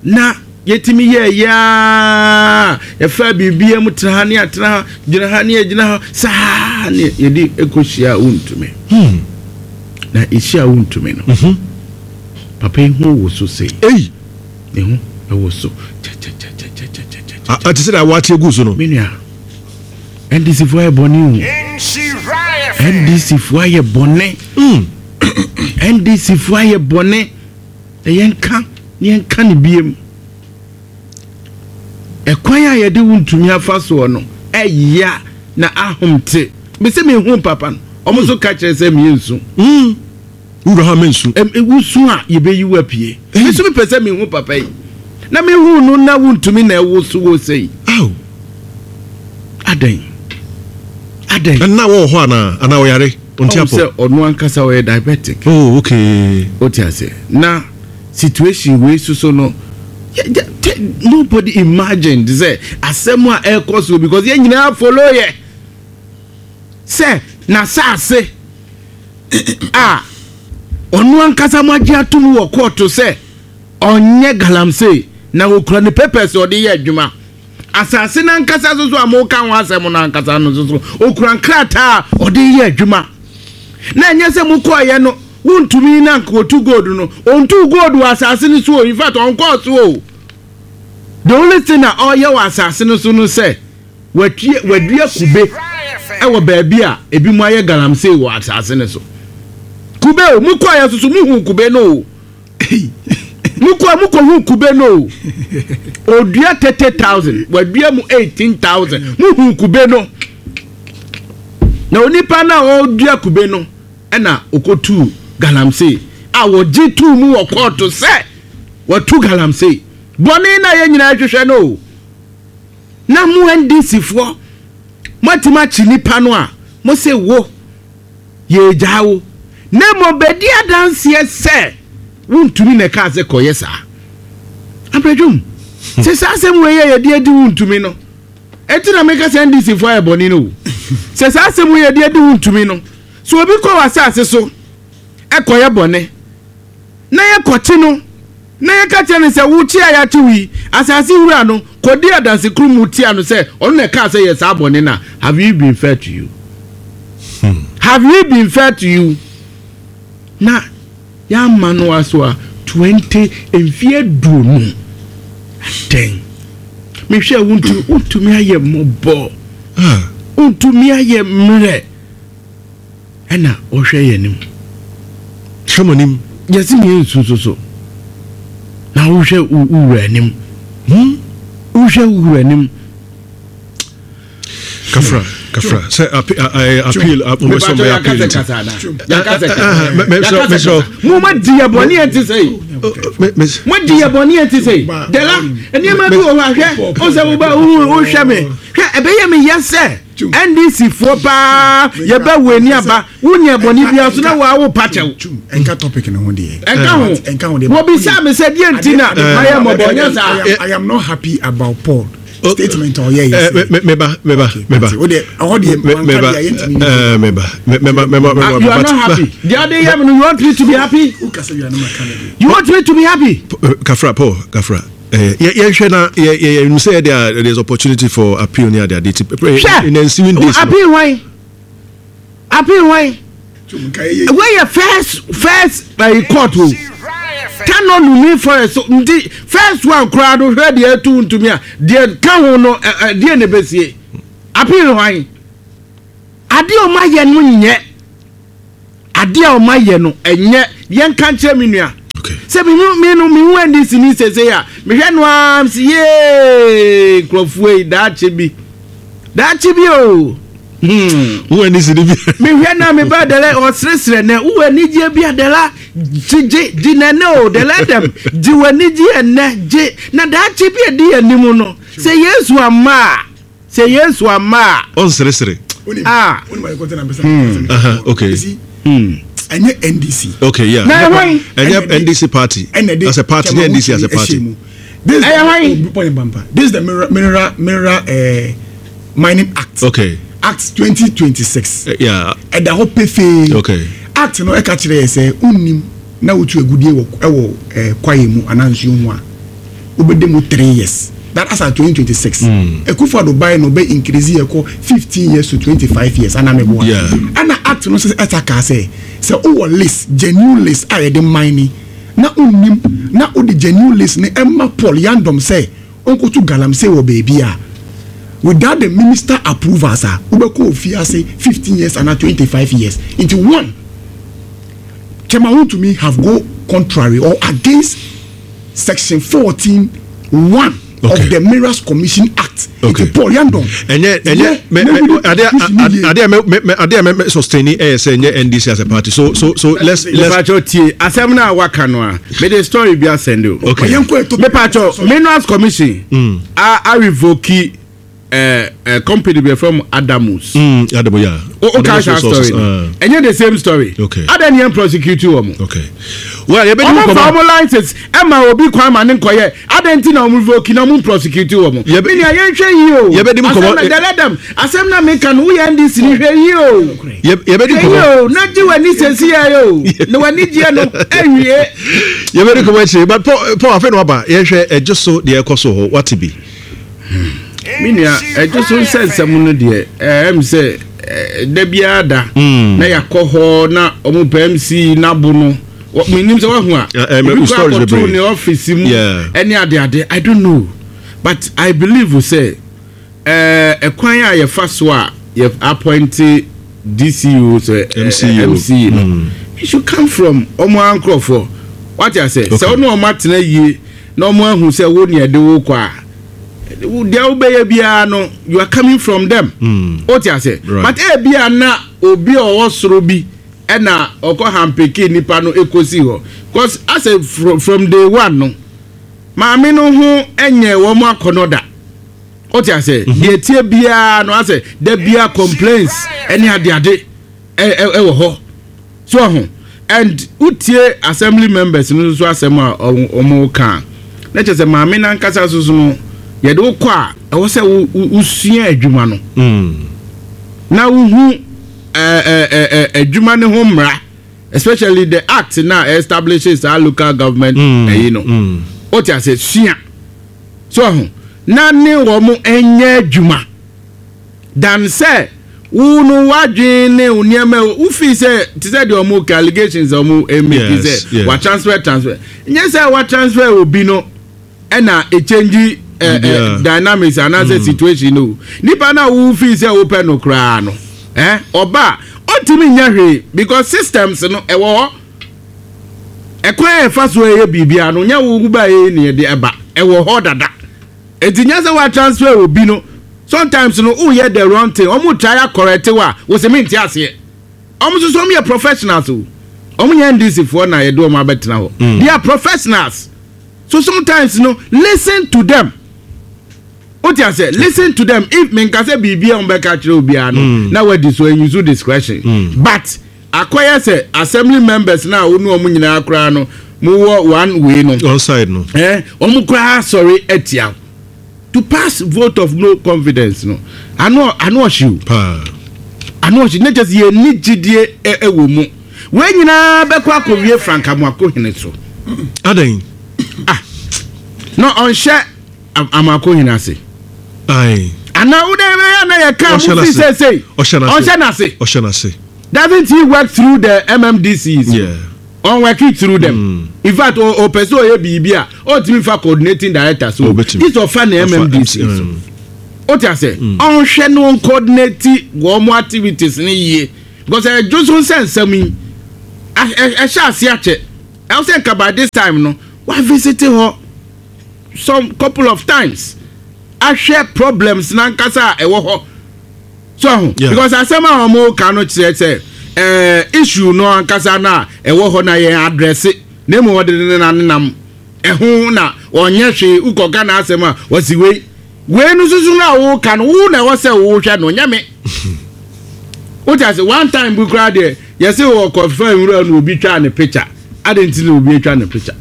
[SPEAKER 3] Na yɛtumi yɛɛyɛ ara, yɛfaa biribiara mu tena ha ne atena ha, gyina ha ne agyina ha, saa ne yɛde kɔhyia a wontumi.
[SPEAKER 1] Hmm.
[SPEAKER 3] Na ɛhyia a wontumi no,
[SPEAKER 1] mhm.
[SPEAKER 3] papa yi ho wo so sei.
[SPEAKER 1] Ei!
[SPEAKER 3] Ne ho ɛwɔ so kyɛkyɛkyɛkyɛkyɛkyɛ.
[SPEAKER 1] Ate sɛ na wate agu so no.
[SPEAKER 3] Me nua, NDC foɔ ayɛ bɔne o. NDC foɔ ayɛ bɔne.
[SPEAKER 1] Mm.
[SPEAKER 3] NDC foɔ ayɛ bɔne. Na yɛnka na yɛnka no biem. Ɛkwan a yɛde wo ntumi afa soɔ no ɛya na ahom te. Mese mehu papa no, ɔmo nso ka kyerɛ sɛ meyɛ nsu.
[SPEAKER 1] Mm. Wura ha mensu.
[SPEAKER 3] Wosu a yɛbɛyi wo apue. Me nso mepɛ sɛ mehu papa yi. Na mehu no na wontumi na ɛwo so wɔ sei.
[SPEAKER 1] Aw.
[SPEAKER 3] Adɛn? Adɛn?
[SPEAKER 1] Ɛnna wɔ hɔ anaa? Anaa ɔyare? Ɔnte
[SPEAKER 3] Ɔhu
[SPEAKER 1] apɔ.
[SPEAKER 3] sɛ ɔno ankasa ɔyɛ diabetic.
[SPEAKER 1] Oh okay.
[SPEAKER 3] Wote aseɛ? Na situation wei soso no, yɛ yɛ te nobody imagined sɛ asɛm a ɛrekɔ so because yɛn nyinaa follow yɛ sɛ n'asaase a ɔno ankasa mo agye atom wɔ kɔɔto sɛ ɔnyɛ galamsey na okura ne papers a ɔde yɛ adwuma. Asase no ankasa nso so a moreka ho asɛm no ankasa no nso so, ɔkura nkrataa a ɔde reyɛ adwuma. Na ɛnyɛ sɛ mokɔeɛ no, wontumi na anka ɔtu gold no. Ɔntuu gold wɔ asase no so o. In fact, ɔnkɔɔ so o. The only thing a ɔreyɛ wɔ asase no so no sɛ, watue, wadua kube wɔ baabi a ebinom ayɛ galamsey wɔ asase no so. Kube o, mokɔeɛ nso so, mohuu kube no o. Mokɔ a mokɔhu kube no o. Odua 30,000, wadua mu 18,000. Muhu kube no. Na onipa no a ɔdua kube no ɛna ɔkɔtuu galamsey a wɔgye tuu mu wɔ kɔɔto sɛ watu galamsey. Bɔne no a yɛn nyinaa hwehwɛ no o. Na mo NDC foɔ moatumi akye nipa no a mo se wo Yɛregyaa wo, na mmom bɛdi adanseɛ sɛ wontumi na ɛkaa sɛ kɔyɛ saa. Abrɛdwom, sɛ saa asɛm wei yɛ yɛde adi wontumi no, ɛnti na meka sɛ NDC foɔ ayɛ bɔne no o. Sɛ saa asɛm wei yɛde adi wontumi no, sɛ obi kɔ w'asase so ɛkɔyɛ bɔne, na yɛkɔkye no, na yɛka kyerɛ no sɛ, Wo kye a yɛakye wo yi, asase wura no kɔdi adansekurumu tia no sɛ ɔno na ɛkaa sɛ yɛ saa bɔne no a, have we been fair to you? Have we been fair to you? Na yɛama no aso a 20 mfeɛ 20. Adɛn? Mehwɛ wontumi wontumi ayɛ mmɔbɔ. Wontumi ayɛ mmerɛ. Ɛna ɔhwɛ yɛn anim.
[SPEAKER 1] Hwɛ mo anim.
[SPEAKER 3] Yɛse yɛn nsu nso so. Na wohwɛ wo wura anim.
[SPEAKER 1] Hmm?
[SPEAKER 3] Wohwɛ wo wura anim.
[SPEAKER 1] Kafra, kafra. Sɛ appeal, mo sɛ mo yɛ appeal nti.
[SPEAKER 3] Mo ma di yɛ bɔne yɛn ti sɛ yi. Mo di yɛ bɔne yɛn ti sɛ yi. Dela, nneɛma bi wɔ hɔ ahwɛ. O sɛ wo ba wo hwɛ me. Hwɛ ɛbɛyɛ me yɛ sɛ. NDC foɔ paa yɛbɛ wo ani aba wo nyɛ bɔne bia so na waa wo pa kyɛw.
[SPEAKER 2] Ɛnka topic no ho deɛ.
[SPEAKER 3] Ɛnka ho.
[SPEAKER 2] Ɛnka ho deɛ.
[SPEAKER 3] Wɔbisaa me sɛ deɛ nti na mayɛ mmɔbɔ nyɛ saa.
[SPEAKER 2] I am not happy about Paul statement ɔyɛ yɛ sɛ.
[SPEAKER 1] Meba meba meba.
[SPEAKER 2] O deɛ ɔhɔ deɛ
[SPEAKER 1] meba meba meba meba meba.
[SPEAKER 3] You are not happy. Deɛ ɔde yɛ mi no you want me to be happy? You want me to be happy?
[SPEAKER 1] Kafra Paul Kafra. Eh, yɛnhwɛ na yɛnim sɛ yɛde a there's opportunity for appeal ne ade ade ti in the ensuing days
[SPEAKER 3] no. Appeal hwan? Appeal hwan? Wei yɛ first first uh, court o. Tano Numi forest so nti first one koraa no hwɛ deɛ ɛtu ntumi a deɛ ka ho no deɛ na ɛbɛsie. Appeal hwan? Adeɛ a ɔmo ayɛ no nyɛ. Adeɛ a ɔmo ayɛ no ɛnyɛ. Yɛnka nkyerɛ me nua. Sɛ mehu me no mehu NDC ni sese a mehwɛ no ara msi yee nkurɔfoɔ yi daakye bi daakye bi o. Hmm.
[SPEAKER 1] Wo NDC ni bi.
[SPEAKER 3] Mehwɛ na me ba dɛlɛ ɔseresere nɛ wo anigyeɛ bi adɛla gye gye gye nɛnɛ o dɛlɛ dɛm gye w'anigyeɛ nnɛ gye na daakye bi adi anim no sɛ Yesu amma a. Sɛ Yesu amma a.
[SPEAKER 1] Ɔnseresere.
[SPEAKER 3] Ah.
[SPEAKER 1] Hmm. Okay.
[SPEAKER 2] Hmm. Ɛnyɛ NDC.
[SPEAKER 1] Okay, yeah.
[SPEAKER 3] Na ɛhwan?
[SPEAKER 1] Ɛnyɛ NDC party. As a party, nyɛ NDC as a party.
[SPEAKER 2] This
[SPEAKER 3] ɛyɛ hwan?
[SPEAKER 2] This is the mineral mineral mineral uh, mining act.
[SPEAKER 1] Okay.
[SPEAKER 2] Act 2026.
[SPEAKER 1] Yeah.
[SPEAKER 2] Ɛda hɔ pefee.
[SPEAKER 1] Okay.
[SPEAKER 2] Act no ɛka kyerɛ yɛ sɛ unnim na wotu agudie wɔ ɛwɔ ɛɛ kwaeɛ mu anaa nsuo ho a. Wobɛda mu 3 years, that as at 2026. Akufo Addo bae na ɔbɛ increase yɛ kɔ 15 years to 25 years ana meboa? Ɛna act no sɛ ɛsa kaa sɛ sɛ wowɔ list, genuine list a yɛde mine na wonnim na wode genuine list no ɛma Paul Yandom sɛ ɔnkɔtu galamsey wɔ baabi a, without the minister approvals a, wobɛkɔ ofie ase 15 years ana 25 years. Nti one Chairman Wontumi have go contrary or against section 14(1) of the Minerals Commission Act.
[SPEAKER 1] Okay.
[SPEAKER 2] Nti Paul Yandon.
[SPEAKER 1] Ɛnyɛ mɛ mɛ ade ade mɛ mɛ ade mɛ mɛ sustain ɛyɛ sɛ ɛnyɛ NDC as a party, so let's.
[SPEAKER 3] Mepacho, tie asɛm na waka no a, mede story bi asɛnde o.
[SPEAKER 1] Okay.
[SPEAKER 3] Mepacho, Minerals Commission a revoke company bi from Adamus.
[SPEAKER 1] Adamu, yeah.
[SPEAKER 3] O ka sa story no. Ɛnyɛ the same story?
[SPEAKER 1] Okay.
[SPEAKER 3] Adan yɛn prosecute wɔ mo.
[SPEAKER 1] Okay. Well, yɛ bɛ di
[SPEAKER 3] Ɔmo fa ɔmo license ɛma obi kwan ma ne nkɔyɛ adan ti na ɔmo revoke na ɔmo prosecute wɔ mo. Mi ni a yɛn hwɛ yi o.
[SPEAKER 1] Yɛ bɛ di mu
[SPEAKER 3] nkɔmɔ. Asɛm na dɛlɛ dɛm asɛm na mi ka no, woyɛ NDC ni, hwɛ yi o.
[SPEAKER 1] Yɛ bɛ di
[SPEAKER 3] Hwɛ
[SPEAKER 1] nkɔmɔ.
[SPEAKER 3] yi o, na gye w'ani sɛsi yɛ o, na w'ani gyeɛ no ɛnwie.
[SPEAKER 1] Yɛ bɛ di nkɔmɔ akyire, but Paul afei na waba, yɛhwɛ ɛgye so deɛ ɛkɔ so hɔ, wate bi.
[SPEAKER 3] Me nua, ɛgye so nsɛnsɛm no deɛ, ɛm sɛ da biara da na yɛakɔ hɔ na ɔmo pɛ MC n'abo no. Menim sɛ wahu a obi kɔ akɔto ne ɔfisi mu ɛne adeade. I don't know, but I believe sɛ ɛkwan a yɛfa so a yɛ appoint DCO sɛ MC no, it should come from ɔmo ankorɔfoɔ, wate asɛ sɛ ɔno ɔmo atena yie na ɔmo ahu sɛ wo nea ɛde wo kɔ a, deɛ wobɛyɛ biara no, you are coming from them. O ti ase? But ebia na obi a ɔwɔ soro bi ɛna ɔkɔ hampeke nipa no ekosi hɔ, cause asɛ from day one no, maame no ho ɛnyɛ wɔn akɔnɔ da. O ti ase? Deɛ tie biara no, asɛ da biara complaints ɛne adeade ɛwɔ hɔ so ɔho. And wotie assembly members no nso asɛm a ɔmo ka na kyerɛ sɛ maame nankasa so so no, yɛde wo kɔ a, ɛwɔ sɛ wosua adwuma no na wohu adwuma ne ho mmara, especially the act na establishes our local government ɛyi no. O ti ase? Sua so ɔho na ne wɔn nyɛ adwuma dan sɛ wo no wadwen ne wo nneɛma wofi sɛ te sɛ deɛ ɔmo ka allegations a ɔmo make sɛ wa transfer, nyɛ sɛ wa transfer obi no ɛna echange ɛ ɛ dynamics anaasɛ situation no. Nipa na wo fi sɛ wopɛ no koraa no, ɔba ɔntumi nyɛ hwee because systems no ɛwɔ hɔ. Ɛkwan a ɛfa so ɛyɛ biribiara no, nyɛ wo ba yɛ ne yɛde ɛba, ɛwɔ hɔ dada. Eti nyɛ sɛ wa transfer obi no. Sometimes no, woyɛ the wrong thing, ɔmo try acorrect wa, wɔsɛ mi nti aseɛ. Ɔmo nso so ɔmo yɛ professionals o. Ɔmo nyɛ NDC foɔ na yɛde ɔmo abɛtena hɔ. They are professionals, so sometimes no, listen to them. O ti ase? Listen to them. If mi nka sɛ biribi a ɔmo bɛka kyerɛ obiara no na wadi so and use discretion, but akɔyɛ sɛ assembly members na wo ne ɔmo nyinaa koraa no mo wɔ one way no.
[SPEAKER 1] One side no.
[SPEAKER 3] Ɔmo koraa sɔre atia to pass vote of no confidence no, ano ɔhyew
[SPEAKER 1] paa.
[SPEAKER 3] Ano ɔhyew ne kyɛ sɛ yɛn ni gyidie ɛwɔ mu. Wei nyinaa bɛkɔ akɔwie Frank Amoakohene so.
[SPEAKER 1] Adan.
[SPEAKER 3] Ah, na ɔnhyɛ Amoakohene ase.
[SPEAKER 1] Ayi.
[SPEAKER 3] Ana wo de bɛyɛ na yɛ ka mo fi sɛsɛyi?
[SPEAKER 1] Ɔhyɛ n'ase.
[SPEAKER 3] Ɔnhyɛ n'ase.
[SPEAKER 1] Ɔhyɛ n'ase.
[SPEAKER 3] Doesn't he work through the MMDCs?
[SPEAKER 1] Yeah.
[SPEAKER 3] Ɔn work it through them. In fact, o pɛ sɛ ɔyɛ biribi a, ɔntumi fa coordinating director so.
[SPEAKER 1] Ɔbɛtumi.
[SPEAKER 3] This ɔfa na MMDC so. Wote ase? Ɔnhwɛ na ɔncoordinate wɔn activities no yie because ɛdwo so nsɛ nsɛm yi ɛhyɛ ase akyɛ. Ɛwɔ sɛ nka by this time no wa visit hɔ some couple of times ahwɛ problems nankasa a ɛwɔ hɔ. So ho because asɛm a wɔn ka no kyerɛ sɛ ɛɛ issue no ankasa no a ɛwɔ hɔ na yɛn address na emu wɔde ne nanenam ɛho na ɔnyɛ hwee wokɔ Ghana asɛm a wɔsi wei. Wei no soso no a woka no wo na ɛwɔ sɛ wohwɛ no nyɛ me. Wote ase one time bi koraa deɛ yɛse wɔkɔfa nwura no obi twaa ne picture. Adɛn nti na obi atwa ne picture?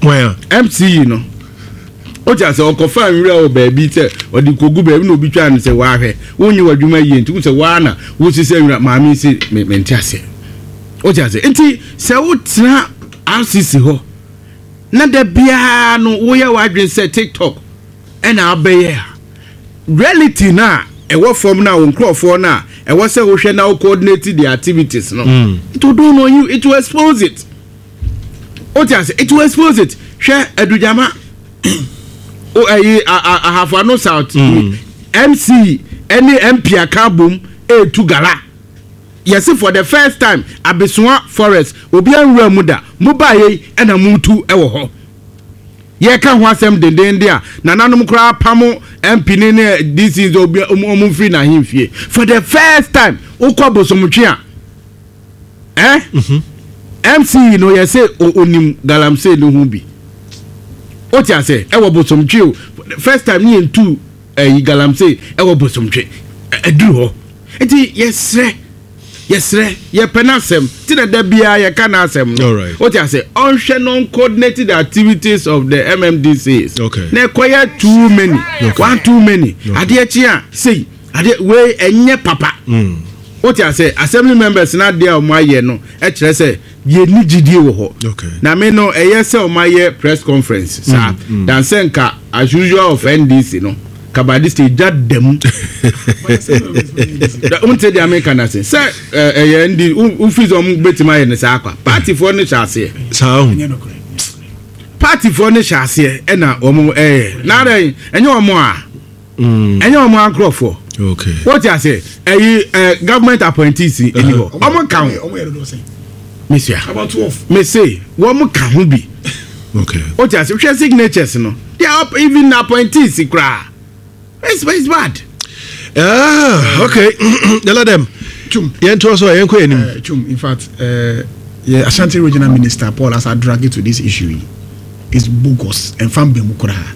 [SPEAKER 3] MCE no. Wote ase ɔkɔfa nwura wɔ baabi sɛ ɔde kogu baabi na obi twaa no sɛ wahwɛ wonyɛ w'adwuma yie nti wo sɛ waa na wosisɛ nwura maame si mente aseɛ. Wote ase nti sɛ wotena RCC hɔ na da biara no woyɛ w'adwene sɛ TikTok na abɛyɛ a, reality no a ɛwɔ fam no a wo nkurɔfoɔ no a ɛwɔ sɛ wohwɛ na wo coordinate the activities no, mm. it will do on you, it will expose it. Wote ase, it will expose it. Hwɛ Adugyama, o ɛyi Ahafo Ano South, mm. MC ɛne MP aka abom ɛretu gala. Yɛse for the first time Abesoa forest obiara nwuraa mu da, mo baeɛ yi ɛna moretu wɔ hɔ. Yɛreka ho asɛm dendeenden a nananom koraa apamo MP ne ne DC sɛ obi ɔmo mfiri n'ahemfie. For the first time wokɔ Bosomtwe a eh MC no yɛse onim galamsey no ho bi. Wote ase ɛwɔ Bosomtwe o first time ne yɛntu ɛyi galamsey ɛwɔ Bosomtwe ɛduru hɔ. Nti yɛsrɛ yɛsrɛ yɛpɛ n'asɛm ti na da biara yɛka n'asɛm no o ti ase ɔnhwɛ no coordinate the activities of the MMDCs okay. na ɛkɔyɛ too many okay. one too many okay. adeɛ kye a sei adeɛ wei ɛnyɛ papa mm. o ti ase assembly members n'adeɛ a wɔn ayɛ no ɛkyerɛ sɛ Yɛnni gyidie wɔ hɔ. Na me no ɛyɛ sɛ wɔn ayɛ press conference saa than sɛ nka as usual of NDC no ka by this stage gya da mu. Wonte deɛ meka no ase sɛ ɛyɛ NDC wofi sɛ wɔn bɛtumi ayɛ no saa kwa. Partyfoɔ no hyɛ aseɛ.
[SPEAKER 1] Saa ho.
[SPEAKER 3] Partyfoɔ no hyɛ aseɛ ɛna wɔn ɛyɛ. Na adɛn ɛnyɛ wɔn a. Mm. Ɛnyɛ wɔn ankorɔfoɔ.
[SPEAKER 1] Okay.
[SPEAKER 3] Wọ́n ti ase ɛyi ɛ government appointees ɛni hɔ. Wɔn ka ho. Mesia. Mese wɔn ka ho bi.
[SPEAKER 1] Okay.
[SPEAKER 3] Wọ́n ti ase hwɛ signatures no. They are even appointees koraa. It's it's bad.
[SPEAKER 1] Ah, okay. Yɛlɛ dɛm.
[SPEAKER 2] Chum.
[SPEAKER 1] Yɛn to so yɛn kɔ yɛn nim.
[SPEAKER 2] Chum, in fact, uh, yeah, Ashanti Regional Minister Paul Asa drag it to this issue is bogus and fan bemu koraa.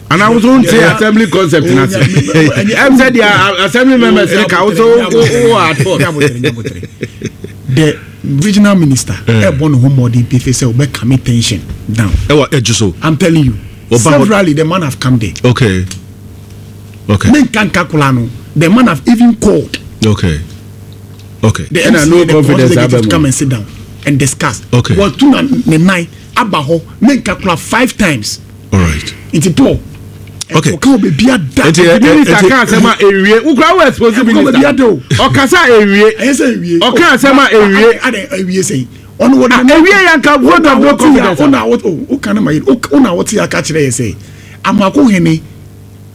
[SPEAKER 3] Ana wo so nte assembly concept na se. Ɛm sɛ deɛ assembly members ne ka wo so wo at fault.
[SPEAKER 2] The regional minister ɛbɔ ne ho mmɔden pefe sɛ ɔbɛ calm tension down.
[SPEAKER 1] Ɛwɔ ɛdwo so.
[SPEAKER 2] I'm telling you. Severally the man have come there.
[SPEAKER 1] Okay. Okay.
[SPEAKER 2] Ne nka nka kola no the man have even called.
[SPEAKER 1] Okay. Okay.
[SPEAKER 2] The MC no the confidence executive to come and sit down and discuss.
[SPEAKER 1] Okay.
[SPEAKER 2] Wɔtu na ne nan aba hɔ ne nka kola five times.
[SPEAKER 1] Alright.
[SPEAKER 2] Nti Paul.
[SPEAKER 1] Okay.
[SPEAKER 2] Ɔka wɔ baabi ada.
[SPEAKER 3] Nti eh, eh, minister ka asɛm a ewie. Wokura wo expose minister. Ɔkasa ewie.
[SPEAKER 2] Ɛyɛ sɛ ewie.
[SPEAKER 3] Ɔka asɛm a ewie.
[SPEAKER 2] Adɛ ewie sɛ ɔno wɔ
[SPEAKER 3] de. Ewie yɛ nka vote of no confidence.
[SPEAKER 2] Ɔna wɔ o kan ma yi ɔna wɔte aka kyerɛ yɛ sɛ Amoako hene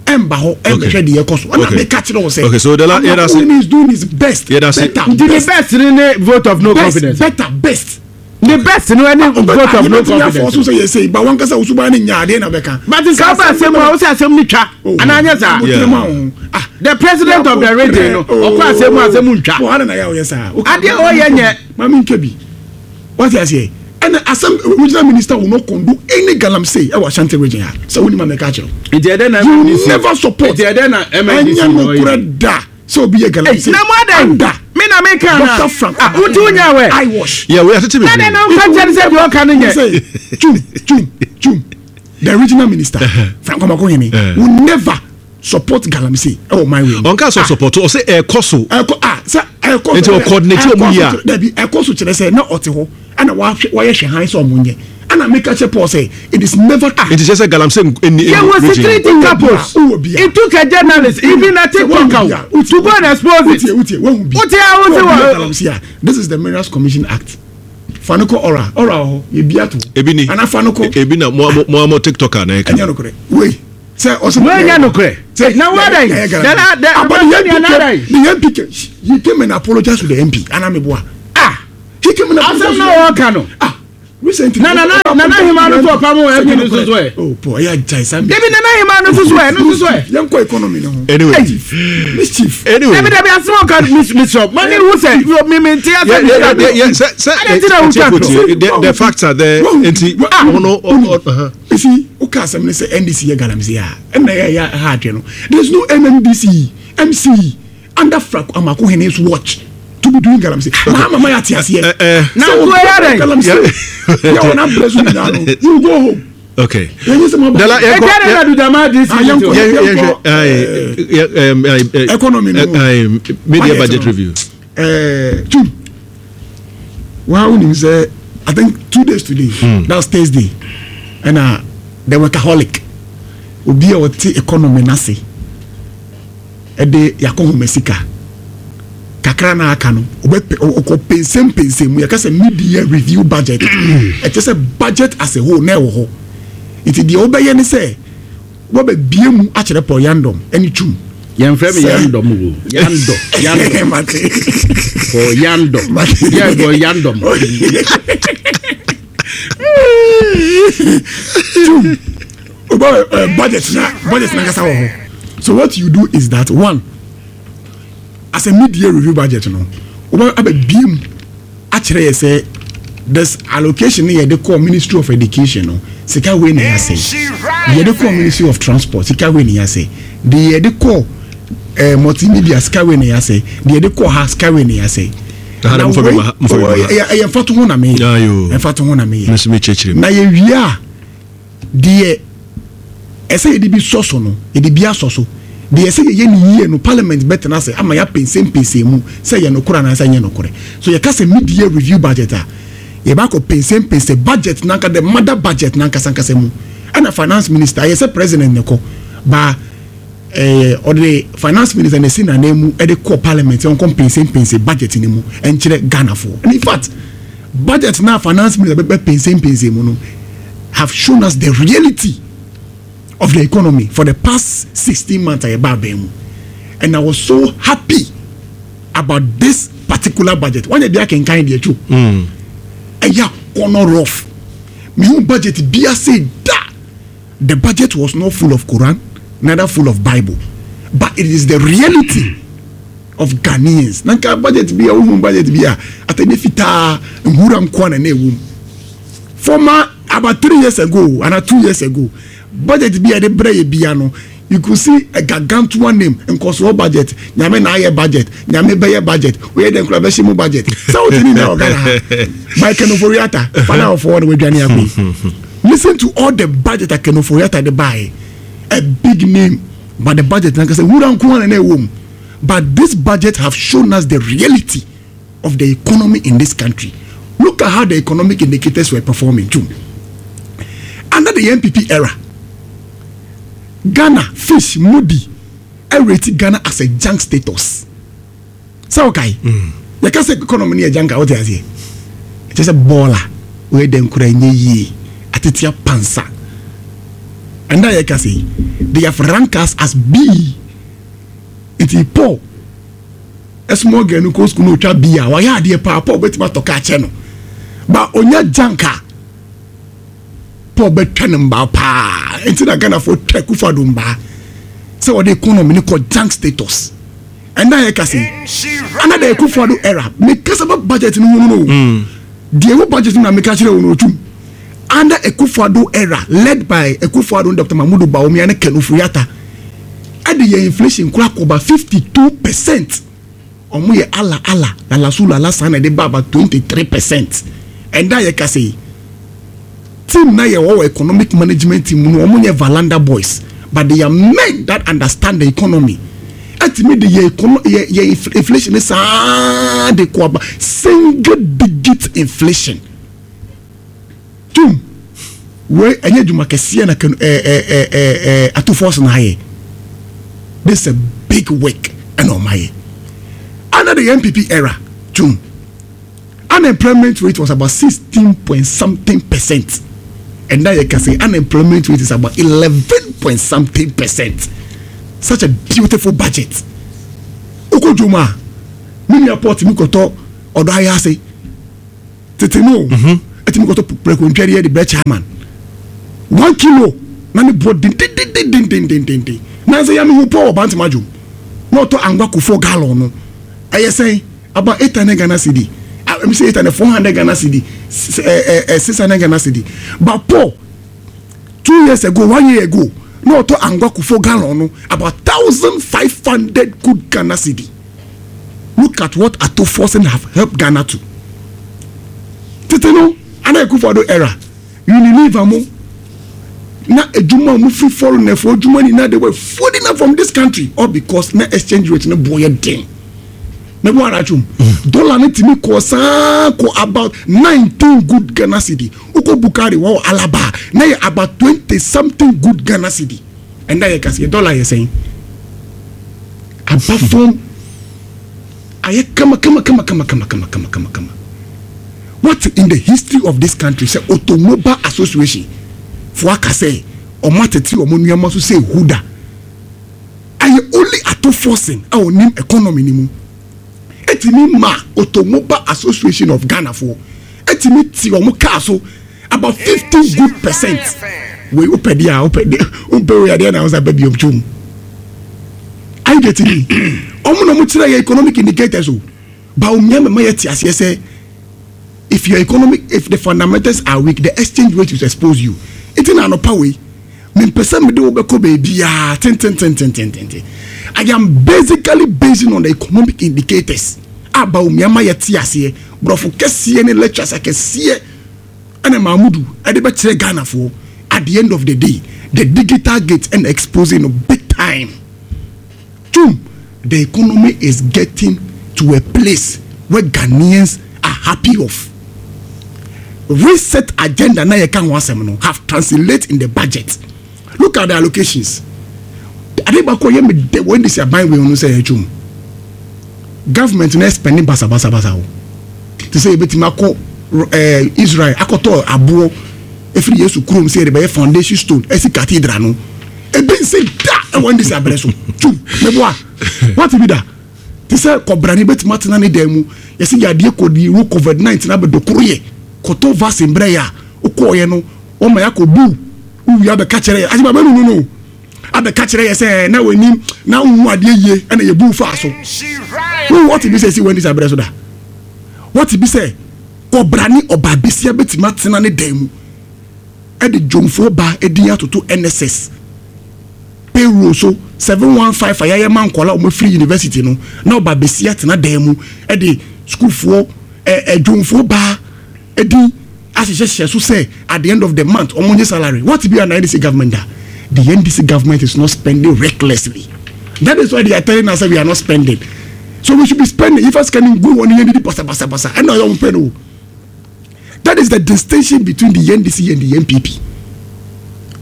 [SPEAKER 2] ɛnba hɔ ɛnbɛhwɛ deɛ ɛkɔ so ɔna meka kyerɛ wɔ sɛ
[SPEAKER 1] okay so the la
[SPEAKER 2] Amoako hene is doing his best.
[SPEAKER 1] Better
[SPEAKER 3] best. Nti the best ne vote of no confidence.
[SPEAKER 2] Better best.
[SPEAKER 3] The best no ɛne vote of no confidence.
[SPEAKER 2] Yɛbɛtumi afɔ so sɛ yɛsɛ ba wankasa wo suban no nya adeɛ na bɛka.
[SPEAKER 3] But nka woba asɛm mu a wo sɛ asɛm no twa oh, anaa nyɛ saa.
[SPEAKER 2] Ah.
[SPEAKER 3] The president of the region no ɔkɔ asɛm mu asɛm ntwa. Adeɛ ɔyɛ nyɛ.
[SPEAKER 2] Maame ntwa bi. Wate aseɛ ɛna asɛm regional minister will not condone any galamsey ɛwɔ Ashanti region ha sɛ wonim a mɛka akyerɛ.
[SPEAKER 3] Nti ɛdɛ na
[SPEAKER 2] MNDC. You never support.
[SPEAKER 3] Nti ɛdɛ na MNDC.
[SPEAKER 2] Ɛnyɛ nokorɛ da. Sɛ obi yɛ galamsey.
[SPEAKER 3] Na mo adan.
[SPEAKER 2] Anda.
[SPEAKER 3] Me na me kan na.
[SPEAKER 2] Dr. Frank.
[SPEAKER 3] Ah, wuti wunya wɛ.
[SPEAKER 2] I wash.
[SPEAKER 1] Yeah, we are tete
[SPEAKER 3] Na
[SPEAKER 1] bebree.
[SPEAKER 3] na nka kyɛn sɛ deɛ ɔka no nyɛ.
[SPEAKER 2] Chum, chum, chum. The regional minister, Frank Omakohene, will never support galamsey. Ɛwɔ my way.
[SPEAKER 1] Ɔnka sɛ support ɔsɛ ɛkɔ so.
[SPEAKER 2] Ɛkɔ ah sɛ ɛkɔ so.
[SPEAKER 1] Nti ɔ coordinate ɔmo yie a.
[SPEAKER 2] Dabi ɛkɔ so kyerɛ sɛ na ɔte hɔ ɛna wahwɛ wayɛ hwɛ han sɛ ɔmo nyɛ. Ɛna meka kyerɛ Paul sɛ it is never true.
[SPEAKER 1] Nti kyerɛ sɛ galamsey nni
[SPEAKER 3] Yɛ wɔ
[SPEAKER 1] region.
[SPEAKER 3] security couples. It took a journalist, even a TikToker, to go and expose it.
[SPEAKER 2] Wotie, wotie, wahu bi.
[SPEAKER 3] Wotie a wote
[SPEAKER 2] Wahu bi
[SPEAKER 3] wɔ.
[SPEAKER 2] galamsey a. This is the Minerals Commission Act. Fa no kɔ ɔra, ɔra wɔ hɔ, yɛ bi ato.
[SPEAKER 1] Ebi ni.
[SPEAKER 2] Ana fa no kɔ.
[SPEAKER 1] Ebi na mo mo mo TikToker na ɛka.
[SPEAKER 2] Ɛnyɛ nokorɛ. Wei. Sɛ ɔsɛ
[SPEAKER 3] Wei nyɛ nokorɛ.
[SPEAKER 2] Sɛ
[SPEAKER 3] Na wɔadɛn?
[SPEAKER 2] yɛyɛ galamsey.
[SPEAKER 3] Dada dɛ
[SPEAKER 2] Ah, but the
[SPEAKER 3] ɔbɛsɛ
[SPEAKER 2] MP
[SPEAKER 3] nea
[SPEAKER 2] came, the MP came, he came and apologized to the MP. Ana meboa.
[SPEAKER 3] Ah!
[SPEAKER 2] He came and apologized
[SPEAKER 3] Asɛm
[SPEAKER 2] to
[SPEAKER 3] na
[SPEAKER 2] the MP.
[SPEAKER 3] wɔka no.
[SPEAKER 2] Ah, recently.
[SPEAKER 3] Na nana nana hema no so ɔpam wɔ MP no so so ɛ.
[SPEAKER 2] Oh, boy, ɛyɛ agyae saa.
[SPEAKER 3] Dabi nana hema no so so ɛ, no so so ɛ.
[SPEAKER 2] Yɛnkɔ economy no ho.
[SPEAKER 1] Anyway.
[SPEAKER 2] Mischief.
[SPEAKER 1] Anyway.
[SPEAKER 3] Dabi dabi asɛm a ɔka mis misrɔ. Mani hu sɛ mi mi nti asɛm
[SPEAKER 1] Yeah, yeah, yeah, yeah. Sɛ sɛ
[SPEAKER 3] Adɛn nti na wotwa torɔ?
[SPEAKER 1] the facts are there. Nti ɔno ɔ
[SPEAKER 2] You see, woka asɛm no sɛ NDC yɛ galamsey a, ɛna ɛyɛ ɛyɛ ha adwene no. There is no MMDC, MC under Frank Amoakohene's watch to be doing galamsey. Mahama ma yɛate aseɛ.
[SPEAKER 3] Na
[SPEAKER 2] Sɛ
[SPEAKER 3] nko
[SPEAKER 2] wɔn
[SPEAKER 3] ɛyɛ dɛn?
[SPEAKER 2] galamsey yɛ wɔn abrɛ so nyinaa no, you go home.
[SPEAKER 1] Okay.
[SPEAKER 2] Yɛnyɛ sɛ mo aba.
[SPEAKER 1] Dala yɛnkɔ
[SPEAKER 3] Ɛgya de na Dudama DC
[SPEAKER 2] Ah, yɛnkɔ.
[SPEAKER 1] yɛn yɛhwɛ
[SPEAKER 2] Economy no.
[SPEAKER 1] media
[SPEAKER 2] Budget
[SPEAKER 1] budget
[SPEAKER 2] no.
[SPEAKER 1] review.
[SPEAKER 2] Tum wa wonim sɛ I think 2 days today, that's Thursday, ɛna the workaholic, obi a ɔte economy n'ase, ɛde yakɔ homa sika kakra na aka no, ɔbɛpɛ ɔkɔ pensempensem mu. Yɛka sɛ mid-year review budget, ɛkyɛ sɛ budget as a whole na ɛwɔ hɔ, nti deɛ ɔbɛyɛ ne sɛ wɔbɛbie mu akyerɛ Paul Yandom ɛne Twum.
[SPEAKER 3] Yɛmfrɛ me Yandom o. Yandɔ. Yandɔ.
[SPEAKER 2] Mate.
[SPEAKER 3] Paul Yandɔ. Yɛ bɔ Yandom.
[SPEAKER 2] Twum oba budget na kasa wɔ hɔ. So what you do is that one, as a mid-year review budget no, oba abɛbie mu akyerɛ yɛ sɛ this allocation no, yɛde kɔ Ministry of Education no, sika wei na yɛasɛ, yɛde kɔ Ministry of Transport, sika wei na yɛasɛ, de yɛde kɔ Multimedia, sika wei na yɛasɛ, de yɛde kɔ ha, sika wei na yɛasɛ.
[SPEAKER 1] Na
[SPEAKER 2] na
[SPEAKER 1] mfa bi
[SPEAKER 2] wei
[SPEAKER 1] ma ha, mfa bi ma ha.
[SPEAKER 2] Ɛyɛ mfato ho na meyɛ.
[SPEAKER 1] Ayo.
[SPEAKER 2] Mfato ho na meyɛ.
[SPEAKER 1] Me nso mekyerɛkyerɛ mu.
[SPEAKER 2] Na yɛwie a, deɛ ɛsɛ yɛde bi sɔ so no, yɛde bi asɔ so. Deɛ ɛsɛ yɛyɛ ne yie no, parliament bɛtena ase ama yɛapɛnsɛmpɛnsɛn mu sɛ yɛ nokorɛ anaasɛ nyɛ nokorɛ. So yɛka sɛ mid-year review budget a, yɛbɛakɔ pɛnsɛmpɛnsɛ budget nanka, the mother budget nankasankasa mu. Ɛna finance minister ayɛ sɛ president ne kɔ ba ɛɛ ɔde finance minister na esi n'anan mu ɛde kɔ parliament sɛ ɔnkɔ mpɛnsɛmpɛnsɛ budget ne mu ɛnkyerɛ Ghanafoɔ. And in fact, budget na finance minister bɛbɛ pɛnsɛmpɛnsɛ mu no have shown us the reality of the economy for the past 16 months a yɛba abɛn mu, and I was so happy about this particular budget. Wɔn yɛ bi akenkan deɛ twu ɛyɛ akɔnɔ rough. Mihu budget bi ase da. The budget was not full of Quran, neither full of Bible, but it is the reality of Ghanaians. Na nka budget bi a wohu, budget bi a atɛnɛ fitaa nwura nkoa na na ɛwɔ mu. Former, about 3 years ago and 2 years ago, budget bi a yɛde brɛ yɛ bia no, you could see a gargantuan name, nkɔsoɔ budget, Nyame na ayɛ budget, Nyame bɛyɛ budget, oyɛ dɛ nkura bɛhyɛ mu budget sɛ wote ne nyinaa wɔ Ghana ha by Ken Ofori-Atta fana ɔfɔ na wadwane akɔ yi. Listen to all the budget a Ken Ofori-Atta de baeɛ, a big name, but the budget nankasa wura nko ara na ɛwɔ mu. But this budget have shown us the reality of the economy in this country. Look at how the economic indicators were performing too. Under the NPP era, Ghana, Fitch, Moody rate Ghana as a junk status. Sɛ ɔkae, yɛka sɛ economy no yɛ junk a, wote aseɛ, ɛkyɛ sɛ bɔɔla wɔyɛ dɛn kora nyɛ yie, atete apansa. Ɛnda yɛka sɛ yi, they have ranked us as B. Nti Paul, a small girl no kɔ school na otwa B a, wayɛ adeɛ paa. Paul bɛtumi atɔ kaa kyɛ no ba onya junk a, Paul bɛtwa ne mbaa paa. Nti na Ghanafoɔ twa Akufo-Addo mbaa sɛ wɔde economy no kɔ junk status. Ɛnna yɛ kasa yi, ana the Akufo-Addo era, mekasa ba budget no ho no, deɛ ɛwɔ budget no na meka kyerɛ wɔn no otum. Under Akufo-Addo era, led by Akufo-Addo ne Dr Mahmudu Bawumia ne Ken Ofori-Atta, ɛde yɛ inflation kora kɔba 52%. Ɔmo yɛ ala ala lalasu lala saa na ɛde ba about 23%. Ɛnda yɛ kasa yi, team na yɛ wɔ economic management team no, ɔmo nyɛ valanda boys, but they are men that understand the economy. Ɛtumi de yɛ econo yɛ inflation ne saa de kɔ aba single digit inflation. Tum wei ɛnyɛ adwuma kɛseɛ na kɛno ɛɛ ɛɛ ɛɛ ɛɛ Ato Forson na ayɛ. This is a big work ɛna ɔmo ayɛ. Under the NPP era, tum, unemployment rate was about 16 point something percent. Ɛnda yɛ kase, unemployment rate is about 11 point something percent. Such a beautiful budget. Wokɔ dwom a, me nua pɔt mi kɔtɔ ɔdɔ ayɛ ase. Tete no, ɛtumi kɔtɔ prɛko ntwɛreɛ de brɛ chairman. 1 kilo na ne boɔ dendendendendendenden. Nansa ya mehu pɔ wɔ Bantama dwom. Na ɔtɔ angwa kofoɔ gallon no. Ɛyɛ sɛn? About 800 Ghana cedi. I'm say 800, 400 Ghana cedi, 600 Ghana cedi. But Paul, 2 years ago, one year ago, na ɔtɔ angwa kofo gallon no about 1,500 good Ghana cedi. Look at what Ato Forson have helped Ghana to. Tete no, ana Akufo-Addo era, Unilever mo, na edwuma a mo firi foreigner for edwuma nyinaa, they were flooding up from this country all because na exchange rate no boɔ yɛ den. Mɛbɔ ara twom. Dollar no tumi kɔ saa kɔ about 19 good Ghana cedi. Wokɔ Bukari wɔ Alaba na yɛ about 20 something good Ghana cedi. Ɛnda yɛ kase dollar yɛ sɛn? Aba fam ayɛ kama kama kama kama kama kama kama kama kama. What in the history of this country sɛ Automobile Association fo aka sɛ ɔmo atete ɔmo nneɛma so sɛ huda ayɛ? Only Ato Forson a onim economy ni mu etimi ma Automobile Association of Ghana foɔ etimi ti ɔmo kaa so about 15 good percent. Wei wopɛ deɛ a wopɛ deɛ, wompɛ wei adeɛ na wosa bɛ biom twom. Are you getting me? Ɔmo na ɔmo kyerɛ yɛ economic indicators o. Bawumia mɛma yɛ te aseɛ sɛ if your economic if the fundamentals are weak, the exchange rate will expose you. Eti na anɔpa wei mempɛ sɛ mede wo bɛkɔ baabiaa tentententententen. I am basically basing on the economic indicators a Bawumia ma yɛte aseɛ, borɔfo kɛseɛ ne lectures akɛseɛ ɛna Mahmudu ɛde bɛkyerɛ Ghanafoɔ. At the end of the day, the digital gate ɛna exposing no big time. Tum, the economy is getting to a place where Ghanaians are happy of. Reset agenda na yɛka ho asɛm no have translate in the budget. Look at the allocations. Ade baako yɛ me de wɔn de si aban wei no sɛ ɛtwam government na spending basabasabasa o, te sɛ yɛbɛtumi akɔ Israel akɔtɔ aboɔ efiri Yesu kurom sɛ yɛde bɛyɛ foundation stone ɛsi cathedral no, ebi nsi da ɛwɔ NDC abɛrɛ so. Tum, meboa wate bi da te sɛ kɔbrani bɛtumi atena ne dan mu yɛsɛ yadeɛ kɔdi wo COVID-19 abɛdokoro yɛ kɔtɔ vaccine brɛ yɛ a wokɔɔyɛ no wɔma yɛ akɔ bu wowie abɛka kyerɛ yɛ agyeba bɛnu no no abɛka kyerɛ yɛ sɛ na w'anim na wohu adeɛ yie ɛna yɛbu faa so. Wo wɔte bi sɛ si wɔ NDC abrɛ so da? Wɔte bi sɛ kɔbrani ɔbaa besia bɛtumi atena ne dan mu ɛde dwomfoɔ ba ɛdin atoto NSS payroll so 715 a yɛayɛ ma nkɔla a wɔafiri university no, na ɔba besia tena dan mu ɛde sukuufoɔ ɛ ɛdwomfoɔ baa ɛdin ahyehyɛhyɛ so sɛ at the end of the month wɔn nye salary? What be an NDC government da? The NDC government is not spending recklessly. That is why they are telling us that we are not spending, so we should be spending. If us can go on yɛn didi basabasabasa ɛna ɔyɛ wɔn pɛ no. That is the distinction between the NDC and the NPP.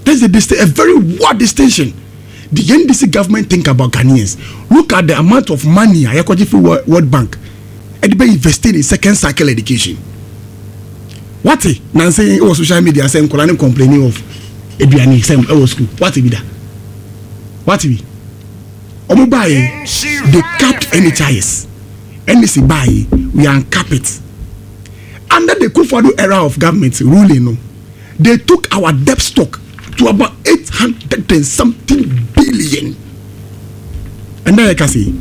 [SPEAKER 2] That's the distinction, a very wide distinction. The NDC government think about Ghanaians. Look at the amount of money a yɛkɔgye fi World Bank ɛde bɛ investing in second cycle education. Wate nansi wɔ social media sɛ nkɔla ne complaining of aduane sɛm ɛwɔ school? Wate bi da? Wate bi? Ɔmo baayi, they capped NHIS. NDC baayi, we uncap it. Under the Kufuor era of government ruling no, they took our debt stock to about 800 and something billion. And then I can say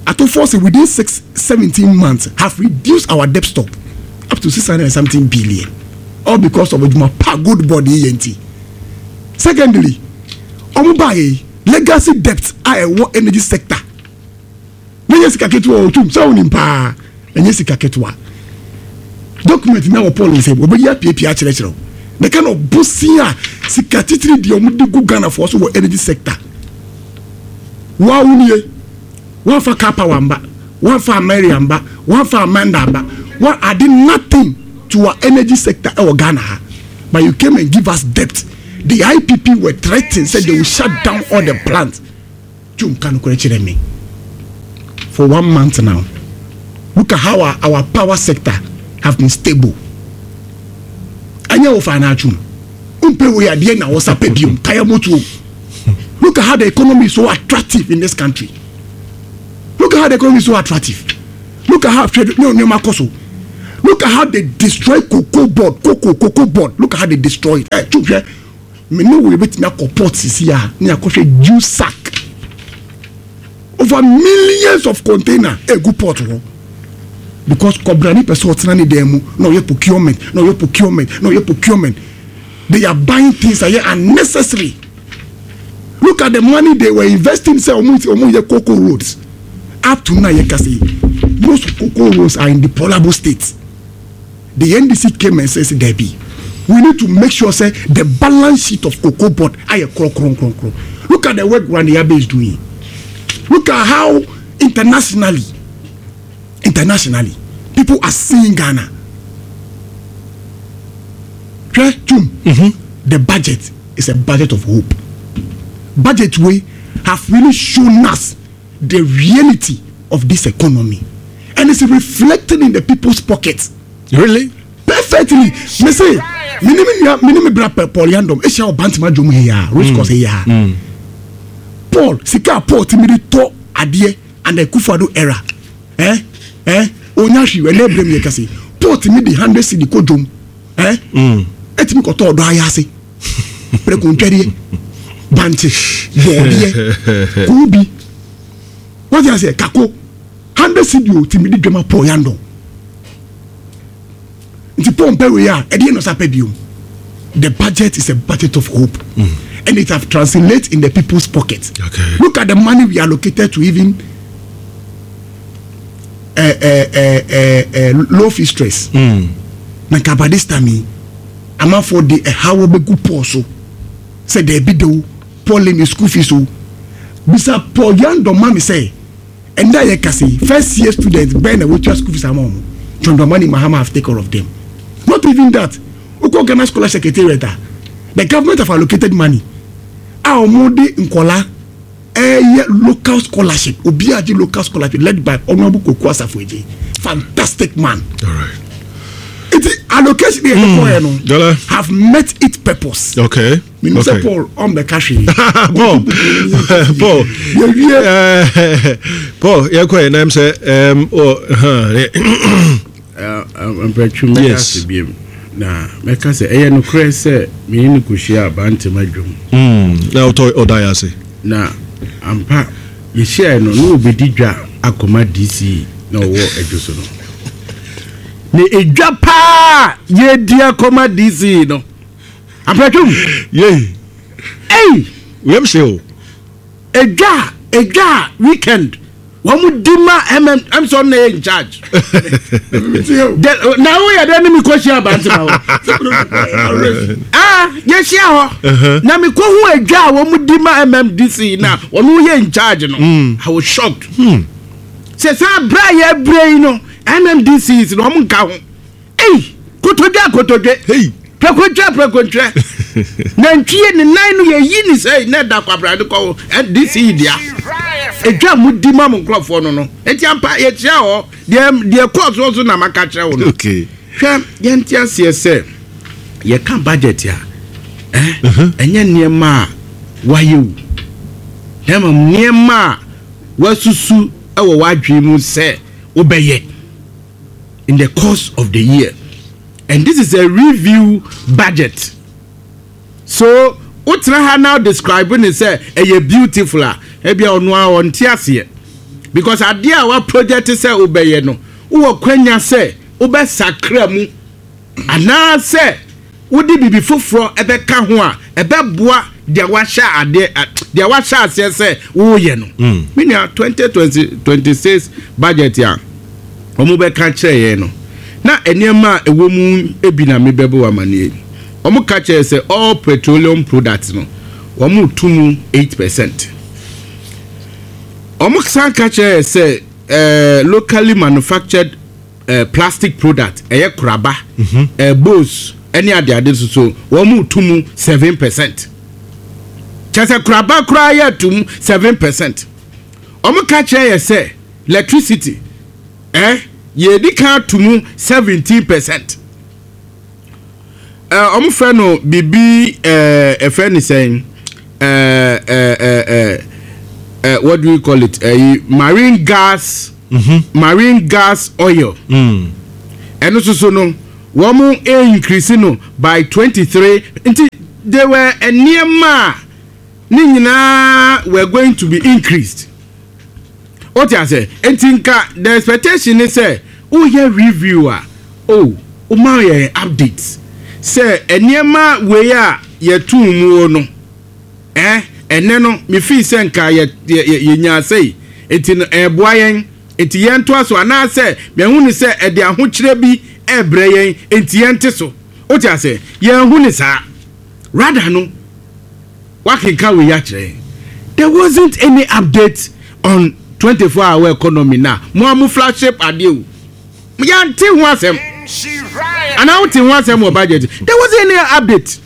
[SPEAKER 2] Ato Forson within 6, 17 months have reduced our debt stock up to 600 and something billion, all because of adwuma pa Gold Board yɛ. Nti secondly, ɔmo baa legacy debt a ɛwɔ energy sector na nyɛ sika ketewa. Otum sɛ wonim paa, ɛnyɛ sika ketewa. Document na wɔ Paul nsɛm wɔbɛyi apiapia akyerɛkyerɛ wo the kind of bosi a sika titiri deɛ ɔmo de gu Ghanafoɔ so wɔ energy sector. Waa wo nie, wɔnfa Karpower mba, wɔnfa Ameria mba, wɔnfa Amanda mba, wɔn ade nothing to our energy sector ɛwɔ Ghana ha, but you came and give us debt. The IPP were threatening, said they will shut down all the plants. Tum, ka nokorɛ kyerɛ me. For one month now, look at how our power sector have been stable. Ɛnyɛ wo fa anatwum. Wompɛ wei adeɛ na wɔsa pɛ biom kaya motuo. Look at how the economy is so attractive in this country. Look at how the economy is so attractive. Look at how hwɛ ne nneɛma kɔ so. Look at how they destroy cocoa board, cocoa, cocoa board. Look at how they destroy it. Eh, tu hwɛ, me ne wo yɛbɛtumi akɔ port sisi a ne akɔhwɛ juice sack over millions of container egu port hɔ because kɔbrani pɛ sɛ ɔtena ne dan mu na ɔyɛ procurement, na ɔyɛ procurement, na ɔyɛ procurement. They are buying things that are unnecessary. Look at the money they were investing sɛ ɔmo yɛ cocoa roads. Up to now yɛ kasa yi, most cocoa roads are in deplorable state. The NDC came and says, "Debbie, we need to make sure say the balance sheet of Cocoa Board ayɛ kronkronkronkron." Look at the work Randy Abbey is doing. Look at how internationally people are seeing Ghana. Hwɛ tum, the budget is a budget of hope. Budget wey have really shown us the reality of this economy and it's reflecting in the people's pockets.
[SPEAKER 1] Really?
[SPEAKER 2] Perfectly. Me say, me ni me nua, me ni me bra Paul Yandom ehyia wɔ Bantama dwom he ya, race course he ya. Paul, sika a Paul timi de tɔ adeɛ and Akufo-Addo era. Eh? Eh? Onya hwi ɛnɛ ebire mi yɛ kase. Paul timi de 100 cedi kɔ dwom. Eh? Etimi kɔtɔ ɔdɔ ayɛ ase. Prɛko ntwɛdeɛ. Bankye, bɔɔdeɛ, kuubi. Wọ́n ti ase kako 100 cedi o timi de dwama Paul Yandom. Nti Paul mpɛ wei a ɛdeɛ na ɔsa pɛ biom. The budget is a budget of hope and it have translate in the people's pocket. Look at the money we allocated to even low fee stress. Na nka by this time yi, amanfoɔ de ɛhaw bɛgu Paul so sɛ dɛbi de o, Paul ne school fees o. Bisa Paul Yandɔ ma mi sɛ ɛnna yɛ kasa yi, first year student bɛn na wotua school fees ama wɔn? John Dramani Mahama have taken care of them. Not even that, wokɔ Ghana Scholar Secretariat a, the government have allocated money a wɔn de nkɔla ɛyɛ local scholarship. Obi agye local scholarship led by Honourable Koko Asafo Eje, fantastic man.
[SPEAKER 1] All right.
[SPEAKER 2] Eti allocation yɛ kɔkɔ yɛ no
[SPEAKER 1] Dala.
[SPEAKER 2] have met its purpose. Minnu sɛ Paul ɔn ka hwee.
[SPEAKER 1] Paul, Paul.
[SPEAKER 2] Yɛwie.
[SPEAKER 1] Paul, yɛkɔ yɛ nam sɛ oh,
[SPEAKER 3] Mpɛtwu, mɛka ase biem na mɛka sɛ ɛyɛ nokorɛ sɛ mene no kɔhyia Bantama dwom.
[SPEAKER 1] Na wotɔ ɔda yɛ ase.
[SPEAKER 3] Na ampa yɛhyiaeɛ no na wɔbɛdi dwa akɔma DC na ɔwɔ adwo so no, na ɛdwa paa yɛdi akɔma DC no, Ampɛtwum.
[SPEAKER 1] Yei.
[SPEAKER 3] Ei.
[SPEAKER 1] Wiem hye o.
[SPEAKER 3] Edwa a weekend wɔn mu di ma mm sɛ ɔno na yɛ in charge. Na woyɛ dɛ ne mi kɔ hyia Abantema hɔ. Ah, yɛhyia hɔ na mi kɔ hu edwa a wɔn mu di ma MMDC na wɔn yɛ in charge no, I was shocked. Sɛ saa abira a yɛabira yi no, MMDC na wɔn nka ho. Ei, kotodwe a kotodwe.
[SPEAKER 1] Hey.
[SPEAKER 3] Prɛkontwɛ prɛkontwɛ. Nantwie ne nan no yɛyi ne sɛ na ɛda kwabra de kɔ DC yi dea. Edwa mu di ma mo nkurɔfoɔ no. Enti ampa yɛkyia hɔ deɛ kɔɔ soɔ so na maka kyerɛ wo no. Hwɛ, yɛnte aseɛ sɛ yɛka budget a, eh, ɛnyɛ nneɛma a wayɛ wu. Na mmom nneɛma a wasusu wɔ w'adwene mu sɛ wobɛyɛ in the course of the year, and this is a review budget, so wotena ha now describe ne sɛ ɛyɛ beautiful a, ebia ɔno a ɔnte aseɛ because adeɛ a wa project sɛ wobɛyɛ no, wowɔ kwanya sɛ wobɛsakra mu anaasɛ wode biribi foforɔ ɛbɛka ho a ɛbɛboa deɛ wahyɛ adeɛ, deɛ wahyɛ aseɛ sɛ woyɛ no. Me nua, 2026 budget a wɔn bɛka kyerɛ yɛn no, na nneɛma a ɛwɔ mu bi na mebɛbɔ wɔ amaneɛ. Wɔn ka kyerɛ sɛ all petroleum products no, wɔn tu mu 8%. Wɔn san ka kyerɛ sɛ locally manufactured plastic product, ɛyɛ koraba, bowls ɛne adeade nso so, wɔn mu tu mu 7%. Kyerɛ sɛ koraba koraa yɛ tu mu 7%. Wɔn ka kyerɛ yɛ sɛ electricity yɛdi kan tu mu 17%. Ɔmo frɛ no biribi ɛɛ ɛfrɛ ne sɛn ɛɛ ɛɛ ɛɛ what do we call it ɛyi marine gas marine gas oil ɛno nso so no wɔn increase no by 23 nti they were nneɛma a ne nyinaa were going to be increased. Wote aseɛ? Nti nka the expectation ne sɛ woyɛ review a, oh, woma yɛn update sɛ nneɛma wei a yɛtoo muo no, eh, ɛnnɛ no me feel sɛ nka yɛ, yɛ, yɛ, yɛnyaa sei, nti no ɛreboa yɛn, nti yɛntoa so, anaasɛ mahu no sɛ ɛde ahokyerɛ bi rebrɛ yɛn, nti yɛnte so. Wote aseɛ? Yɛanhu no saa. Rather no, Woakenkan wei akyerɛ yɛn. There wasn't any update on 24 hour economy na mo a mo flagship adeɛ o. Yɛante ho asɛm. Anaa wote ho asɛm wɔ budget. There wasn't any update.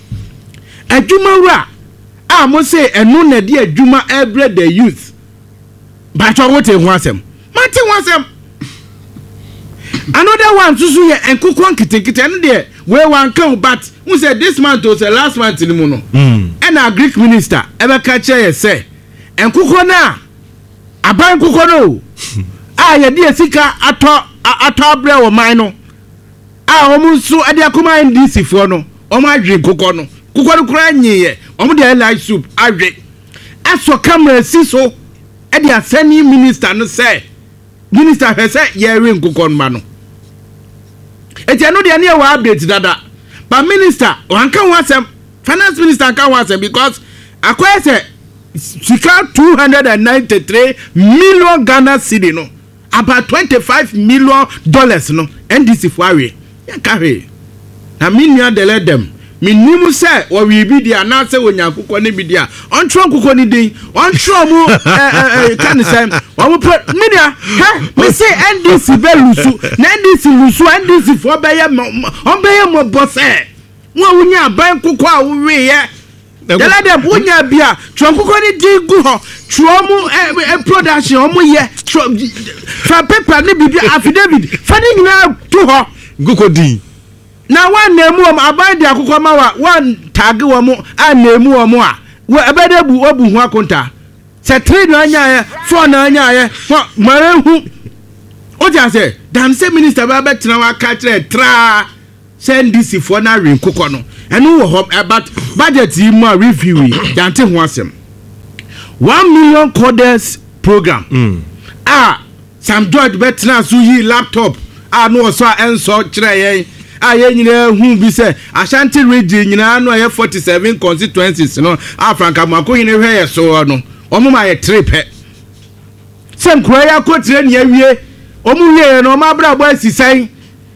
[SPEAKER 3] Adwumawura a mo se ɛno na ɛde adwuma ɛbrɛ the youth. Mpakyɛw wote ho asɛm? Mante ho asɛm. Another one nso so yɛ nkokɔ nketenkete ɛno deɛ wei wanka o but n sɛ this month o sɛ last month no mu no ɛna agric minister ɛbɛka kyerɛ yɛ sɛ nkokɔ no a aban nkokɔ no o a yɛde yɛ sika atɔ atɔ abrɛ wɔ man no a wɔn nso ɛde akɔma NDC foɔ no wɔn adwe nkokɔ no nkokɔ no koraa nyiiɛ wɔn de ayɛ light soup adwe asɔ camera si so de asɛne minister no sɛ minister hwɛ sɛ yɛrewe nkokɔ no ma no eti ɛno deɛ ne yɛ wɔ update dada but minister wanka ho asɛm finance minister nka ho asɛm because akɔyɛ sɛ sika 293 million Ghana cedi no About $25 million no NDC foɔ awe, yɛnka hwee. Na me nua Deledem, mennim sɛ wɔwee bi deɛ anaasɛ wɔnya nkokɔ no bi deɛ a, ɔntwerɛ nkokɔ no din, ɔntwerɛ ɔmo ɛ ɛ ɛ ka ne sɛn, ɔmo pɛ, me nua, hɛ, me se NDC bɛ lusu, na NDC lusu a, NDC foɔ bɛyɛ mɔ, ɔmo bɛyɛ mɔbɔ sɛ, wo a wonya aban nkokɔ a woweeɛ. Dada dɛ wonya bi a twerɛ nkokɔ no din gu hɔ twerɛ ɔmo ɛ ɛ production ɔmo yɛ twerɛ fa paper ne biribi affidavit fa ne nyinaa to hɔ.
[SPEAKER 1] Nkokɔ din.
[SPEAKER 3] Na wɔn mu wɔn aban de akokɔ ma wa wɔn taage wɔn anam wɔn a wɔ ɛbɛ dɛ bu wɔbu ho akonta sɛ three na anyaayɛ four na anyaayɛ hɔ mara ehu o ti ase dan sɛ minister bɛ abɛtena hɔ aka kyerɛ traa. Sɛ NDC foɔ no awe nkokɔ no ɛno wɔ hɔ but budget yi mu a review yi yɛante ho asɛm. 1 million coders program mm. a Sam George bɛtena so yi laptop a no ɔsɔ a ɛnsɔ kyerɛ yɛn a yɛn nyinaa hu bi sɛ Ashanti region nyinaa no a ɛyɛ 47 constituencies no a Frank Amoakohene hwɛ yɛ soɔ no wɔn ma yɛ tere pɛ sɛ nkura yi akɔtire ne awie wɔn wie yɛ no wɔn abrabɔ asi sɛn.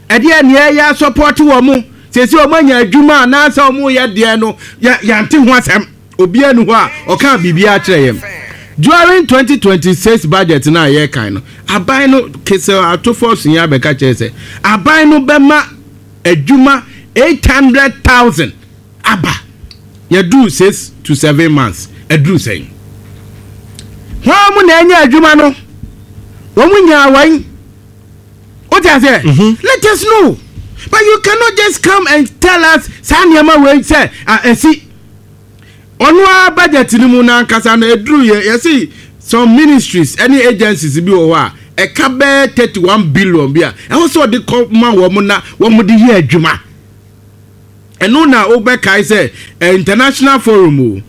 [SPEAKER 3] Ɛdeɛn na yɛyɛ asɔpɔte wɔn? Seesei wɔn anya adwuma anaasɛ wɔn reyɛ deɛn no, yɛ yɛante ho asɛm. Obiara nni hɔ a ɔkaa biribiara kyerɛ yɛn. During 2026 budget no a yɛrekan no, aban no, Kesel Atofo Ɔsonya abɛka kyerɛ sɛ aban no bɛma adwuma 800,000 aba. Yɛduru 6 to 7 months, aduru sɛn? Hwan mu na anya adwuma no? Wɔn nyaa wɔn. Wote aseɛ? Let us know. But you cannot just come and tell us saa nneɛma wei sɛ ɛsi. Ɔno ara budget no mu n'ankasa no ɛduru yɛ yɛsi some ministries ɛne agencies bi wɔ hɔ a ɛka bɛyɛ 31 billion bi a ɛwɔ sɛ ɔde kɔ ma wɔn na wɔn de yɛ adwuma. Ɛno na wobɛkae sɛ international forum o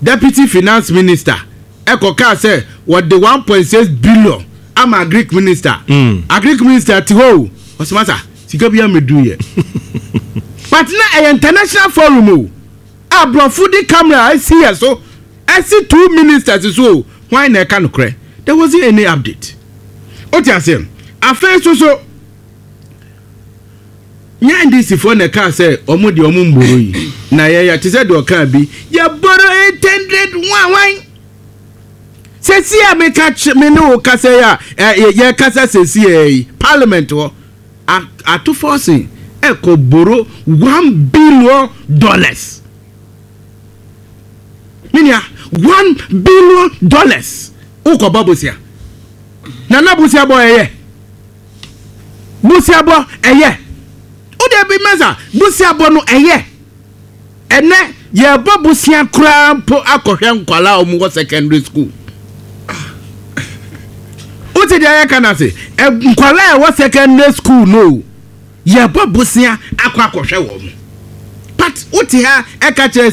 [SPEAKER 3] deputy finance minister ɛkɔ kaa sɛ wɔde 1.6 billion ama agric minister. Agric minister te hɔ o ɔsɛ sika bi amedu yɛ but na ɛyɛ international forum o aborɔfo de camera asi yɛ so ɛsi two ministers so o hwan na ɛka nokorɛ? There wasn't any update. O ti ase afei so so nyɛ NDC foɔ na ɛkaa sɛ ɔmo deɛ ɔmo mboro yi na yɛyɛ te sɛ deɛ ɔkaa bi yɛboro 800 wanwan sɛsi a meka me ne wo kasa yi a yɛkasa sɛsi yi parliament hɔ Ato Forson ɛkɔ boro $1 billion, menua, $1 billion wokɔbɔ bosia nana bosia bɔ ɛyɛ bosia bɔ ɛyɛ wode bi mɛsa bosia bɔ no ɛyɛ. Ɛnɛ yɛbɔ bosea koraa mpo akɔhwɛ nkwalaa a wɔn wɔ secondary school. Wote deɛ yɛka no ase? Nkwalaa a ɛwɔ secondary school no, yɛbɔ bosea akɔ akɔhwɛ wɔn. But wote ha ɛka kyerɛ